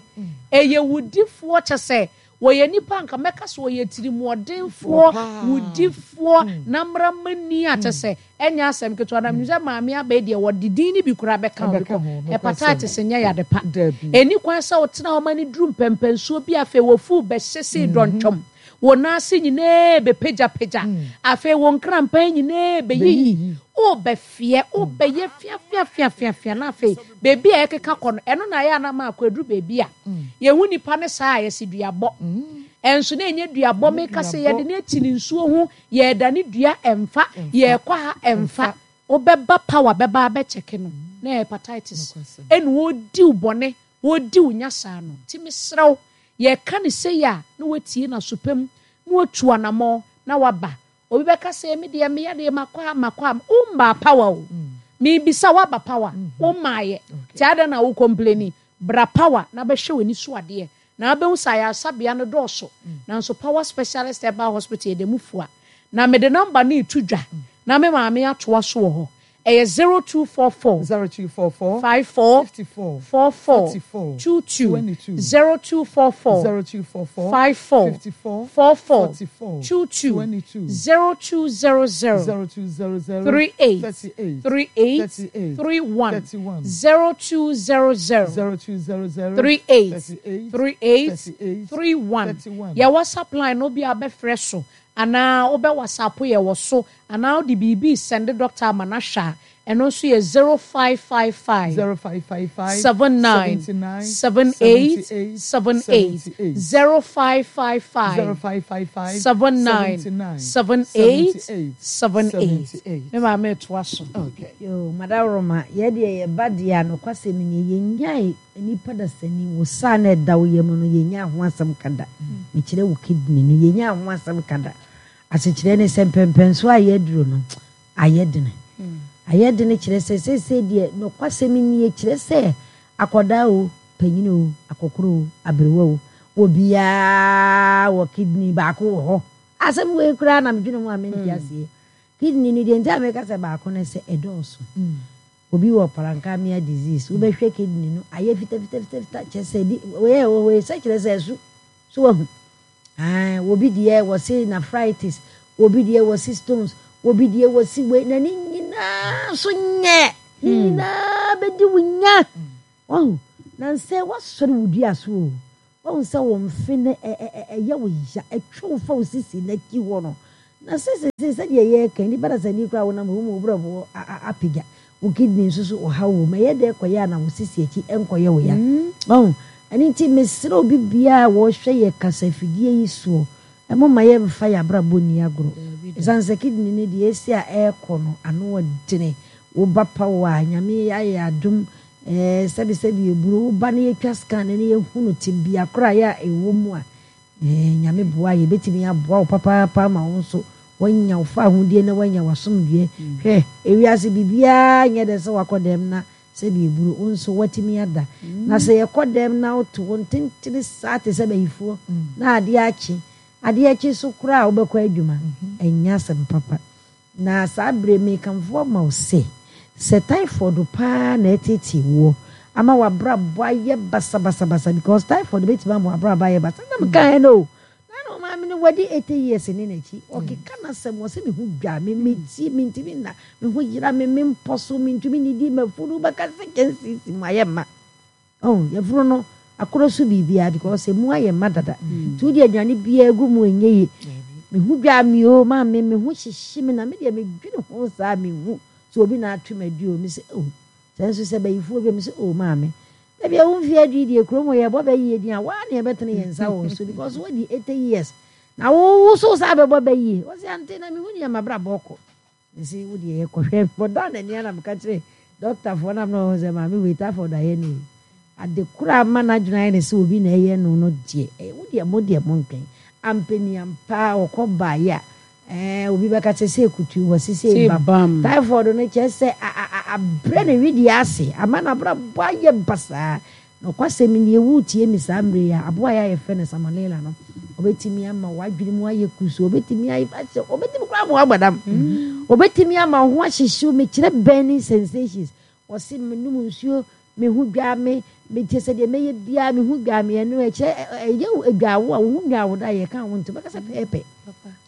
ɛyɛ wudifoɔ kyɛ sɛ wɔyɛ nnipa a nka mɛka sɛ wɔyɛ tirimuɔdenfoɔ, wudifoɔ, namramani a kyɛ sɛ ɛnyɛ asɛm ketewa. Na menim sɛ maame aba yi deɛ wɔde din no bi koraa bɛka ho because hepatitis nyɛ yade pa. Ɛnni kwan sɛ wotena hɔ ma no duru mpɛmpɛnsoɔ bi a afei wɔfuw bɛhyɛ sei dɔntwam. Wo nan ase nyinaa bɛpagyapagya. Afei wo nkrampan nyinaa bɛyiyi. Wobɛfeɛ, wobɛyɛ feafeafeafeafea na afei baabi a ɛkeka kɔ no, ɛno na ɛyɛ a na ama akɔduru baabi a yɛhu nipa no saa a yɛse duabɔ. Ɛnso na ɛnyɛ duabɔ, meka sɛ yɛde no ati ne nsuo ho, yɛredane dua ɛmfa, yɛrekɔ ha ɛmfa. Wobɛba power bɛba abɛkyɛke no na ɛyɛ hepatitis ɛna ɔredi wo bɔne. Wɔredi wo nya saa no. Nti mesrɛ wo, yɛreka no sei a, na woatie no aso pa mu, na woatu anammɔn, na woaba. Obi bɛka sɛ, Me deɛ, me yadeɛ, makɔ ha, makɔ ha. Wommaa power o. Merebisa wo, woaba power? Wommaeɛ. Nti adɛn na wo complaini? Bra power na bɛhwɛ w'ani so adeɛ, na wobɛhu sɛ ayaresabea no dɔɔso. Nanso Power Specialist Herbal Hospital yɛda mu fua. Na mede number no reto dwa, na me maame atoa so wɔ hɔ. Ɛyɛ 0244 0244 54 54 44 44 22 22 0244 0244 54 54 44 44 22 22 0200 0200 38 38 38 38 31 31 0200 0200 38 38 38 38 31. 31. Yɛ WhatsApp line no bi a bɛfrɛ so anaa wobɛ WhatsApp yɛ wɔ so anaa wode biribi sɛnde doctor ama no ahwɛ a, ɛno nso yɛ 0555 0555 79 79 78 78 78 78 0555 0555 79 79 78 78 78. 78. Me maame toa so. Okay. Yo, Madaworoma, yɛ deɛ yɛba deɛ a nokwasɛm nie, yɛnnyae nnipa dasani, wo saa na ɛda wo yam no, yɛnnyaa ho asɛm ka da. Mekyerɛ wo kidney no, yɛnnyaa ho asɛm ka da. Asekyerɛ ne sɛ mpɛmpɛnsoɔ a yɛaduro no, ayɛ dene. Ayɛ dene kyerɛ sɛ seesei deɛ nokwasɛm nie, kyerɛ sɛ akwadaa o, panyin o, akɔkora o, aberewa o, obiara wɔ kidney baako wɔ hɔ. Asɛm wei koraa na medwene ho a mente aseɛ. Kidney no deɛ nti a meka sɛ baako ne sɛ ɛdɔɔso. Obi wɔ parenchymal disease, wobɛhwɛ kidney no ayɛ fitafitafitafita kyerɛ sɛ di wei a ɛwɔ hɔ yi sɛ kyerɛ sɛ ɛso so wahu. Ae, obi deɛ wɔse nephritis, obi deɛ wɔse stones, obi deɛ wɔse wei na ne nyinaa. nyinaa nso nyɛ. Ne nyinaa bɛdi wo nya. Wahu? Na nsɛ woasɔre wo dua so o. Wahu sɛ wo mfe no ɛyɛ wo ya, ɛtwe wo fa wo sisi no akyi hɔ no. Na sɛ seesei sɛdeɛ yɛreka yi, nnipa dasani koraa wonam hɔ mu wo brɛboɔ apagya, wo kidney nso so ɔhaw wɔ mu, ɛyɛ dɛn kɔyɛ a na wo sisi akyi nkɔyɛ wo ya? Wahu? Ɛno nti mesrɛ obi biara a wɔhwɛ yɛ kasafidie yi soɔ, momma yɛmfa yɛn abrabɔ nni agorɔ. Ɛsiane sɛ kidney no deɛ ɛsi a ɛrekɔ no ano ɔdene, wo ba pa wo a, Nyame ayɛ adom, Ɛɛ, sɛbisɛbi eburo, wo ba no yɛtwa scan no na yɛhunu tebea koraeɛ a ɛwɔ mu a, ɛɛ, Nyame boa a, yɛbɛtumi aboa wo papaapa ama wo nso woanya wo fawohodie na woanya w'asomdwoeɛ. Hwɛ, ewiase biribiara nyɛ dɛ sɛ woakɔ dɛm na sɛbi eburo, wo nso woatumi ada. Na sɛ yɛkɔ dɛm na woto wo ntentene saa te sɛ bayifoɔ na adeɛ akye, adeɛ kye so koraa a wobɛkɔ adwuma, ɛnyɛ asɛm papa. Na saa berɛ yi merekamfo ama wo sɛ, sɛ typhoid paa na ɛreteetee woɔ ama w'abrabɔ ayɛ basabasabasa because typhoid bɛtumi ama w'abrabɔ ayɛ basa na mekaeɛ no o na na ɔmaame no wadi 80 years ne n'akyi ɔkeka n'asɛm wɔ sɛ me ho dwa me meti mentumi nna me ho yera me mempɔ so mentumi nidi mafunu bɛka sɛ kyɛnsee mu ayɛ mma. Oh, yafunu no akoro so biribiara because emu ayɛ ma dada. Nti wode aduane biara gu mu ɛnyɛ yie. Me ho dwaa me o, maame me ho hyehye me na me deɛ medwene ho saa menhu sɛ obi na ato me adu o. Me sɛ oh, sɛ nso sɛ bayifoɔ bi me sɛ oh maame. Baabi a wo mfeɛ adu yi deɛ kurom hɔ yɛbɔ bɛ yie din a waa na yɛbɛtene yɛn nsa wɔ so because woadi 80 years na wo wo so saa bɛbɔ bɛ yie. Ɔse ante na mehu nea mabrabɔ kɔ. Mese wo deɛ yɛkɔhwɛ mekɔdaa n'ani ara na meka kyerɛ dɔktafoɔ no a na ɔhu sɛ maame wei typhoid ayɛ no yi ade koro a ama n'adwene ayɛ ne sɛ obi na ɛyɛ no no deɛ ɛyɛ wo deɛ mo deɛ montwɛn ampani ampa ɔkɔ baeɛ a ɛɛ obi bɛka sɛ sɛ kutu wɔ se sɛ bam typhoid no kyerɛ sɛ abrɛ ne wedeɛ ase ama n'abrabɔ ayɛ basaa. Nokwasɛm nie, woretie me saa mmerɛ yi a, aboa yi a yɛfrɛ no Salmonella no, ɔbɛtumi ama w'adwene mu ayɛ kusuu, ɔbɛtumi ayɛ sɛ, ɔbɛtumi koraa ama woabɔ dam, ɔbɛtumi ama wo ho ahyehye wo, mekyerɛ burning sensations, ɔse menom nsuo, me ho dwaa me, mekyɛ sɛ deɛ mɛyɛ biara me ho dwaa me, ɛno ɛkyerɛ ɛyɛ dwaa wo a, wo ho nwaa wo da a yɛka wo nti, wobɛka sɛ pɛɛpɛ,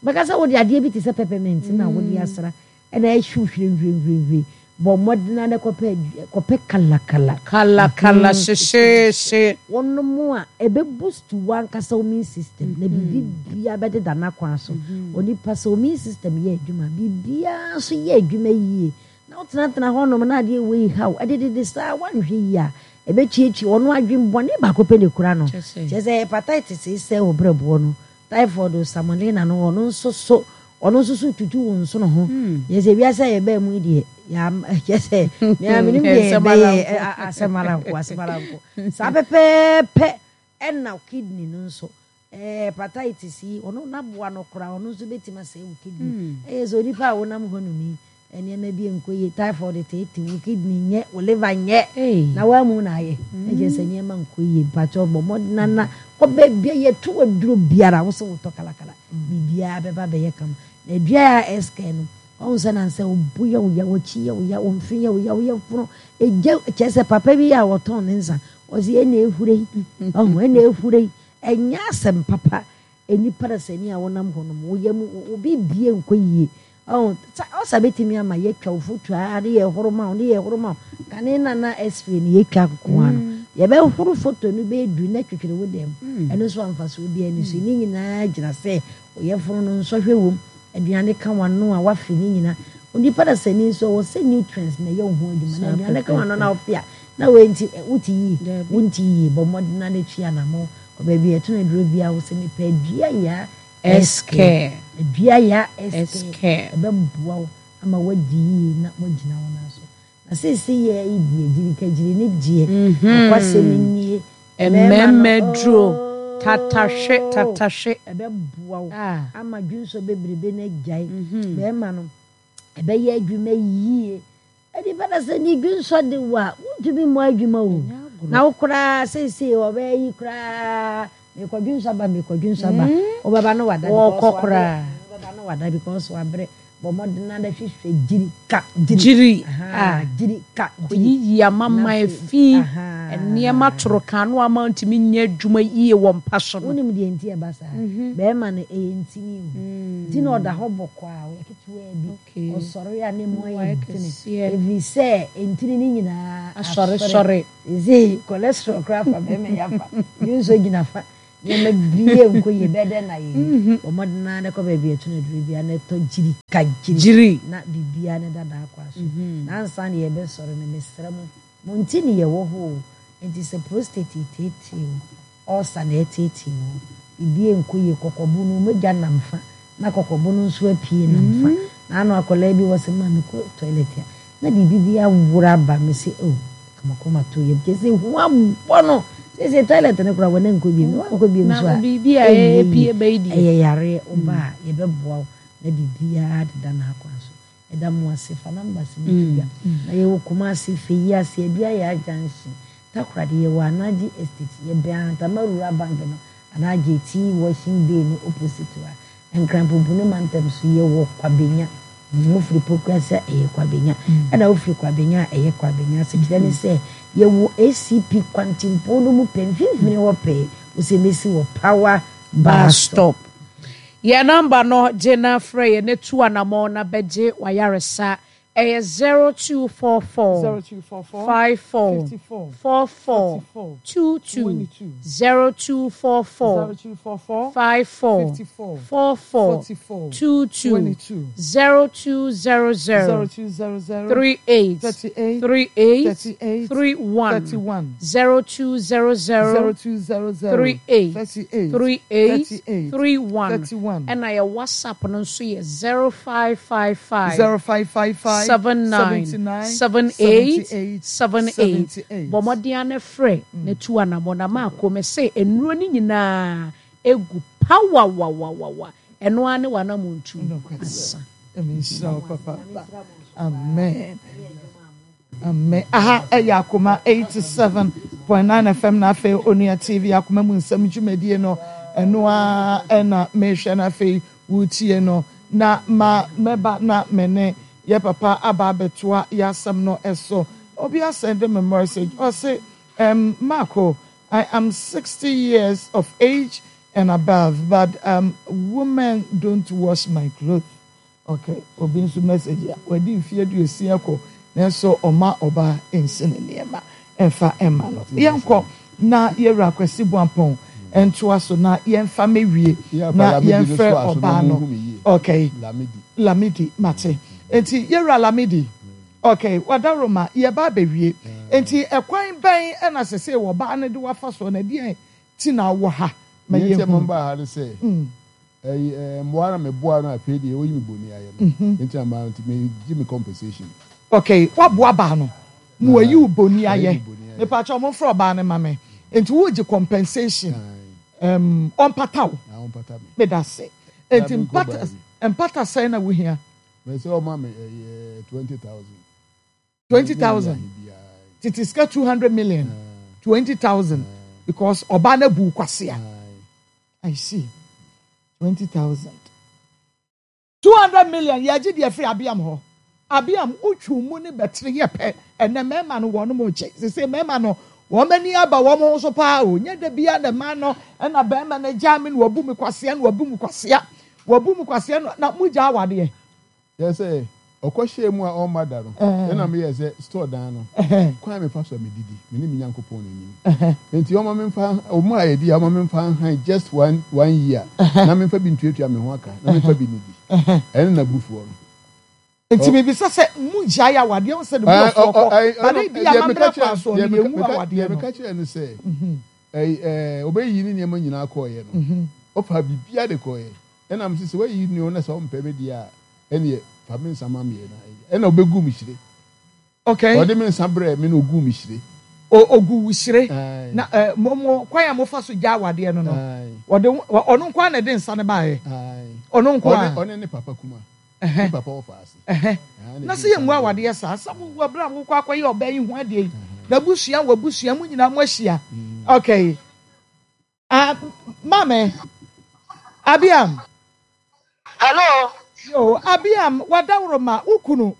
wobɛka sɛ wode adeɛ bi te sɛ peppermint na wode asra, Ɛna ɛhyew hwirenhwirenhwiren. Bɔ mmɔden ara na kɔpɛ kɔpɛ kalakala. Kalakala hyehyeehye. Wonom a, ɛbɛ boost w'ankasa wo immune system na biribi biara bɛdeda n'akwan so. Onipa sɛ wo immune system yɛ adwuma a, biribiara nso yɛ adwuma yie. Na wotenatena hɔnom na adeɛ wei haw ɛdedede saa woanhwɛ yie a, ɛbɛtuatua ɔno adwene bɔne baako pɛ na ɛkura no. Kyerɛ sɛ hepatitis sɛe wo berɛboɔ no. Typhoid o, Salmonella no ɔno nso so ɔno nso so tutu wo nsono ho. Yɛ sɛ wiase a yɛbaa mu yi deɛ yɛ sɛ mea menim deɛ yɛbɛyɛ asɛm ara nko asɛm ara nko. Saa pɛpɛɛpɛ ɛna kidney no nso hepatitis yi ɔno n'aboa no koraa ɔno nso bɛtumi asɛe wo kidney. Ɛyɛ sɛ onipa a wonam hɔ nom yi Nneɛma bi nkɔ yie, typhoid teetee wo, kidney nyɛ, wo liver nyɛ, na woamu na ayɛ. Na kyerɛ sɛ nneɛma nkɔ yie. Mpakyɛw bɔ mmɔden na kɔ baabi a yɛto aduro biara, wo sɛ wotɔ kalakala, biribiara bɛba bɛyɛ kama. Na dua a ɛskɛ no, wahu sɛ nansɛ wo bo yɛ wo ya, w'akyi yɛ wo ya, wo mfe yɛ wo ya, wo yafunu, egya, kyerɛ sɛ papa bi a ɔtɔn ne nsa, ɔse ɛna ehura yi, wahu, ɛna ehura yi, ɛnyɛ asɛm papa. Nnipa dasani a wonam hɔ nom, wo yam, wo biribiara nkɔ yie. Ɔho, sa, ɔsa bɛtumi ama yɛatwa wo foto ara ne yɛhoro ma wo, ne yɛhoro ma wo. Kane na na x-ray no yɛtwa nko ara no, yɛbɛhoro foto no bɛyɛ du na twitwiri wo dɛm. Ɛno nso a mfasoɔ biara nni so. Ne nyinaa gyina sɛ wo yafunu no nsɔhwɛ wom, aduane ka w'ano a woafe ne nyinaa. Onipa dasani nso ɛwɔ sɛ nutrients na ɛyɛ wo ho adwuma. Na aduane ka w'ano na wofe a, na wei nti wote yie? Wonte yie. Bɔ mmɔden ara na twi anammɔn Kɔ baabi a yɛtɔn aduro biara wo sɛ mepɛ adua yaa SK. Adua yaa SK. Ɛbɛboa wo ama woadi yie na woagyina wo nan so. Na seesei yɛ yi deɛ gyirikagyiri ne deɛ nokwasɛm nie. Mmarima duro tatahwe tatahwe. Ɛbɛboa wo ama dwonsɔ bebrebe no agyae. Barima no ɛbɛyɛ adwuma yie. Nipa na sɛ ne dwensɔ de wo a, wontumi mmɔ adwuma o. Na wo koraa seesei ɔbɛyɛ yi koraa mekɔ dwensɔ aba mekɔ dwensɔ aba. Wobɛba no wada because wabrɛ. Wobɛba no wada because wabrɛ. Bɔ mmɔden ara hwehwɛ gyiri ka gyiri. Gyiri a gyiri ka gyiri. Kɔyiyi amamman fi nneɛma toro kan no ama ntumi nyɛ adwuma yie wɔ mpa so no. Wonim deɛ nti ɛba saa? Bɛrima no ɛyɛ ntini o. Nti na ɔda hɔ bɔkɔɔ a ɔyɛ ketewaa bi. Ɔsɔre a ne mu ayɛ dene. Ɛfiri sɛ ntini no nyinaa asɔre. Seesei cholesterol koraa fa bɛrima yi afa. Dwonsɔ gyina fa. Nneɛma biara nkɔ yie, ɛbɛyɛ dɛn na ayɛ yie? Bɔ mmɔden ara na kɔ baabi a ɛto no aduro biara na tɔ gyiri ka gyiri na biribiara ne dada akɔ aso. Na ansa na yɛbɛsɔre no, mesrɛ mo, mo nti ne yɛwɔ hɔ o. Enti sɛ prostate reteetee wo, ulcer na ɛreteetee wo, biribiara nkɔ yie, kɔkɔbo no, mogya nam fa na kɔkɔbo no nso apue nam fa. Na ano akwadaa bi wɔ sɛ, ma mekɔ toilet a, Na biribi bi aworo aba me se oh kamakoma to yam kyerɛ sɛ hu abɔ no seesei toilet no koraa wɔn ankɔ biom na wankɔ biom nso a ɛnyɛ yie ɛyɛ yareɛ woba a yɛbɛboa wo na biribiara deda n'akwan so yɛda mo ase fa numbers no to dwa na yɛwɔ Kumasi Feyi ase Aduayaa junction Takoradi yɛwɔ Anagye estate yɛbɛn Ahantama rural bank no anaa Gyeti washing bay no opposite hɔ a Nkran Pumpuni mantam so yɛwɔ Kwabenya. Wofiri Pokuase a ɛyɛ Kwabenya, ɛna wofiri Kwabenya a ɛyɛ Kwabenya. Asekyerɛ ne sɛ yɛwɔ ACP kwantempɔn no mu pɛ, mfimfini hɔ pɛɛ. Wosɛ mɛsi wɔ Power Bus Stop. Yɛn nɔmba no, gye na frɛ yɛn na tu anamɔn na bɛgye w'ayaresa Ɛyɛ 0244 54 44 22, 0244 54 44 22, 0200 38 38 31, 0200 38 38 31, ɛna yɛ WhatsApp no nso yɛ 0555 0555 79 79 78 78 78. 78. Bɔ mmɔden ara na frɛ na tu anammɔn. Na Marko, mese nnuro no nyinaa gu pawawawawawa. Ɛno ara ne w'anammɔntu asa. Nyame nhyira wo papaapa. Amen. Amen. Aha ɛyɛ Akoma 87.9 FM na afei Onua TV Akoma mu nsɛm dwumadie no ɛno ara ɛna mehwɛ na afei wotie no na ma mɛba na me ne yɛ papa aba abɛtoa yɛ asɛm no ɛso. Obi asɛnde me message ɔse um, Marco I am 60 years of age and above but um, women don't wash my clothes. Ok obi nso message a wadi mfeɛ aduosia kɔ nanso ɔma ɔbaa nsi ne nneɛma mfa mma no. Yɛnkɔ na yɛwura Kwasi Boampɔn ntoa so na yɛmfa mɛwie na yɛmfrɛ ɔbaa no. Ok Lamidi mate. Nti yɛwura Lamidi ok wadaroma yɛba abɛwie. Nti ɛkwan bɛn na sesei ɔbaa no de wafa soɔ na ɛdeɛn ti na wɔ ha ma Nea nti a yɛhunu? mebaa ha ne sɛ, ɛyi ɛɛ mmoa na meboa no afei deɛ oyi me boni ayɛ no. Nti na mmaa nti megye me compensation. Okay, woaboa baa no ma wayi wo boni Wayi ayɛ. me boni ayɛ. Mepakyɛw momfrɛ ɔbaa no ma me. Nti wogye compensation. Ae. Um, ɔmpata wo. Na ɔmpata me. Medase. Na Nti menkɔ mpata baabi. mpata sɛn na wohia? Mɛ sɛ ɔma me ɛyɛ 20,000. 20,000. Tete sika 200 million. 20,000 because ɔbaa no abu wo kwasea. I see. 20,000. 200 million yɛgye deɛ firi Abiam hɔ. Abiam wotwiw mu ne bɛtere yɛ pɛ. Ɛnɛ mmarima no wɔn gye. Sese mmarima no wɔn ani aba wɔn ho so paa o. Nyɛ da biara na mmaa no ɛna barima no agyaa me na wabu me kwasea na wabu me kwasea. Wabu me kwasea na na mogya awadeɛ. Kyerɛ sɛ, ɔkɔhyɛɛ mu a ɔmma da no, ɛnna meyɛɛ sɛ store dan no, kwan a mefa so a medidi, me ne me Nyankopɔn na ɛnim. Enti ɔma memfa, ɔma a ɛdi a, ɔma memfa nhan just one, one year, na memfa bi ntuatua me ho aka, na memfa bi nnidi. Ɛno na abufuo no. Nti mebisa sɛ, mo gyae awadeɛ ho sɛ ne bo afu ɔkɔ, but ebi amammerɛ kwan soɔ no yɛnwu awadeɛ Deɛ no. meka kyerɛɛ no sɛ, ɛyi, ɔbɛyiyi ne nneɛma nyinaa kɔeɛ no, ɔfaa biribiara de kɔeɛ. Ɛna mese sɛ woayi nnuo na sɛ wompɛ me deɛ a ɛneɛ fa me nsa ma meɛ na ɛyɛ. Ɛna ɔbɛguu me hyire. Okay. Ɔde me nsa brɛɛ me na ɔguu me hyire. O ɔgu wo hyire. Ae. Na eh, mo mo kwan a mofa so gya awadeɛ no no. Ae. Ɔde ɔno nko ara na ɛde nsa no baeɛ. Ae. Ɔno nko ara. Ɔne ɔne ne papa kuma. Ne papa wɔfa ase. Ɛhɛ. Na sɛ yɛngu awadeɛ saa, sɛ wo wɔ berɛ a wokɔ akɔyɛ ɔbaa yi ho adeɛ yi, n'abusua w'abusua mo nyinaa moahyia. Okay. Ah, maame, Abiam. Hello. Yoo, Abiam, w'adaworoma, wo kunu,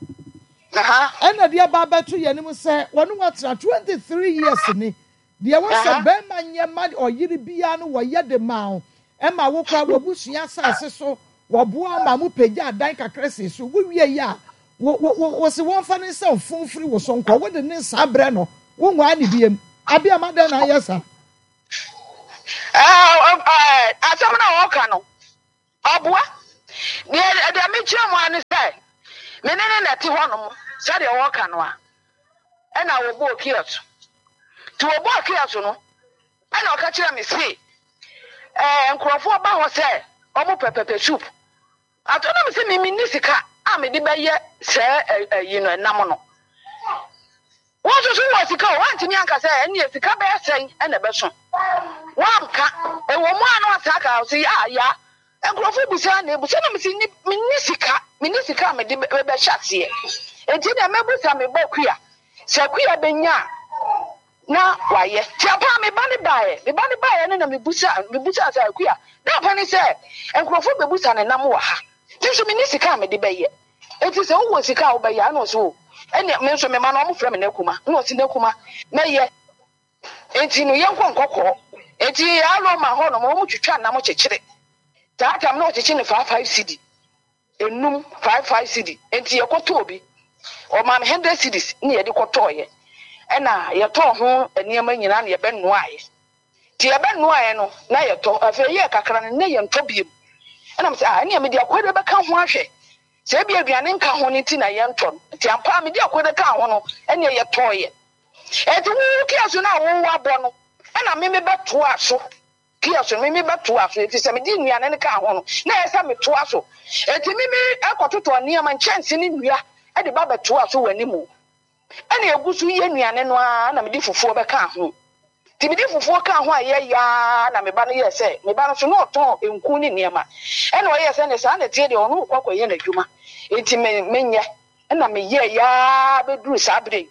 ɛna de aba abɛto yɛn anim sɛ wɔne wo atena 23 years ni. Deɛ ɛwɔ sɛ barima nyɛ ma ɔyere biara no wɔyɛ de maa wo, ɛma wo koraa w'abusua asase so, wɔboa wo ma mopagyaa dan kakra sii so. Wowiei a, wo, wo, wo, wose wɔmfa ne nsa mfo mfiri wo so nkɔ, wode ne nsa brɛ no, wonwaa no biam. Abiam, adɛn na ayɛ saa? Asɛm no a ɔka no, ɔboa. Deɛ deɛ mekyerɛ mu ara ne sɛ, me ne no na ɛte hɔnom sɛdeɛ wɔka no a, ɛna wɔbɔɔ kiosk. Nti wɔbɔɔ kiosk no, ɛna ɔka kyerɛ me se, ɛɛ nkurɔfoɔ ba hɔ sɛ wɔpɛ pepper soup. Ato na mese me menni sika a mede bɛyɛ sɛɛ ayi no ɛnam no. Wo nso so wɔ sika o, woantumi anka sɛ ɛnneɛ sika bɛyɛ sɛn na ɛbɛso. Woanka. Ɛwɔ mu a na wasan aka ɔse ya ya nkurɔfoɔ bisa na ebusa na mese menni sika, menni sika a mede bɛhyɛ aseɛ. Enti deɛ mɛbusa me ba Akua, sɛ Akua bɛnya a na wayɛ. Nti ampa ara me ba no baeɛ. Me ba no baeɛ no na mebusa mebusaa sɛ, Akua, dɛn pɛ ne sɛ nkurɔfoɔ bɛbusa ne nam wɔ ha? Me nso menni sika a mede bɛyɛ. Enti sɛ wowɔ sika a wobɛyɛ a? Ɛna ɔse, O, ɛnneɛ me nso me mma no wɔfrɛ me Nakuma. Ɛna ɔse, Nakuma, mɛyɛ. Enti no yɛnkɔ nkɔkɔɔ. Enti Aloma hɔ nom wɔtwitwa nam kyekyere. Saa tam no wɔkyekye no 5 5 cedi. Enum, 5 5 cedi. Enti yɛkɔtɔɔ bi. Ɔmaa me 100 cedis na yɛde kɔtɔeɛ. Ɛna yɛtɔɔ ho nneɛma nyinaa na yɛbɛnoaeɛ. Nti yɛbɛnoaeɛ no na yɛtɔ. Afei ɛyɛɛ kakra no na yɛntɔ biom. Ɛna mesɛ ah ɛneɛ mede akwede bɛka ho ahwɛ. Sɛ ebia aduane nka ho no nti na yɛntɔ no. Nti ampa ara mede akwede kaa ho no ɛneɛ yɛtɔeɛ. Enti wo kiosk no a wowɔ abɔ no ɛna me mebɛtoaa so. Kiosk no, me mebɛtoaa so, efisɛ mede nnuane no kaa ho no, na ɛyɛ sɛ metoa so. Enti me mekɔtotɔɔ nneɛma, nkyɛnse ne nnua de ba bɛtoaa so wɔ anim. Ɛnna egu so yɛ nnuane no ara na mede fufuo bɛkaa ho. Nti mede fufuo kaa ho a ɛyɛ ya ara na me ba no yɛɛ sɛ, me ba no nso na ɔtɔn nku ne nneɛma. Ɛnna ɔyɛɛ sɛ, ɛnneɛ saa na ɛteɛ deɛ, ɔno rekɔ akɔyɛ n'adwuma, enti me menyɛ. Ɛnna meyɛeɛ ara bɛduruu saa berɛ yi.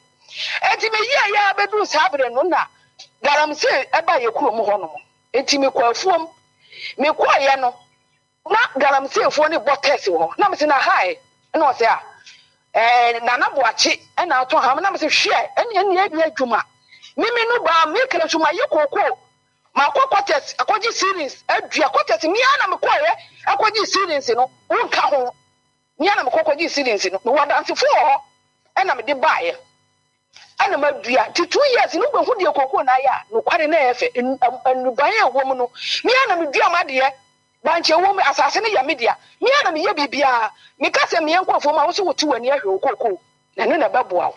Enti meyɛeɛ ara bɛduruu saa berɛ no na galamsey baa yɛn kurom hɔnom. Enti mekɔɔ afuom. Mekɔeɛ no, na galamseyfoɔ no rebɔ tɛs wɔ hɔ. Na mese, na ha ɛ? Ɛna ɔse, ah, ɛɛ, Nana Boakye na atɔ ha. Na mese, hwɛ, ɛnneɛ ɛnneɛ ɛnyɛ adwuma. Me me no baa, meka nso mayɛ kookoo. Makɔ quarters akɔgye ceilings adua quarters. Me ara na mekɔeɛ akɔgye ceilings no, wonka ho. Me ara na mekɔ kɔgyee seedlings no, mewɔ adansefoɔ wɔ hɔ ɛna mede baeɛ ɛna madua nti 2 years no wobɛhu deɛ kookoo no ayɛ a, nokware na ɛyɛ fɛ, nnuban a ɛwɔ mu no, me ara na medua m'adeɛ, bankye ɛwɔ mu, asase no yɛ me dea, me ara na meyɛ biribiara, meka sɛ meɛ nkɔ afuom a, wo nso wote w'ani ahwɛ wo kookoo na ɛno na ɛbɛboa wo.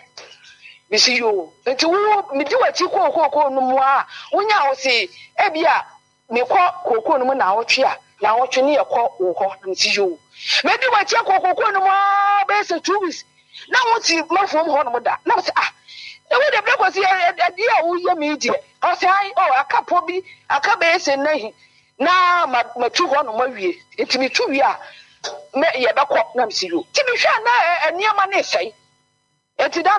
Mese yoo, nti wo medi w'akyi kɔɔ kookoo no mu a, wonyaa wo se ebia Mekɔ kookoo no mu naawɔtwe a, naawɔtwe ne yɛkɔ wo hɔ. Na mese yoo. Medi w'akyi akɔ kookoo no mu aa bɛyɛ sɛ 2 weeks na wonte m'afuom hɔ nom da. Na mese ah, na wei deɛ Berɛ Kwasi adeɛ a woyɛ me yi deɛ. Ɔse ae, oh aka pɔ bi, aka bɛyɛ sɛ nna hi na matu hɔ nom awie. Nti metu wie a, mɛ yɛbɛkɔ. Na mese yoo. Nti mehwɛ a na nneɛma no resɛe. Nti da.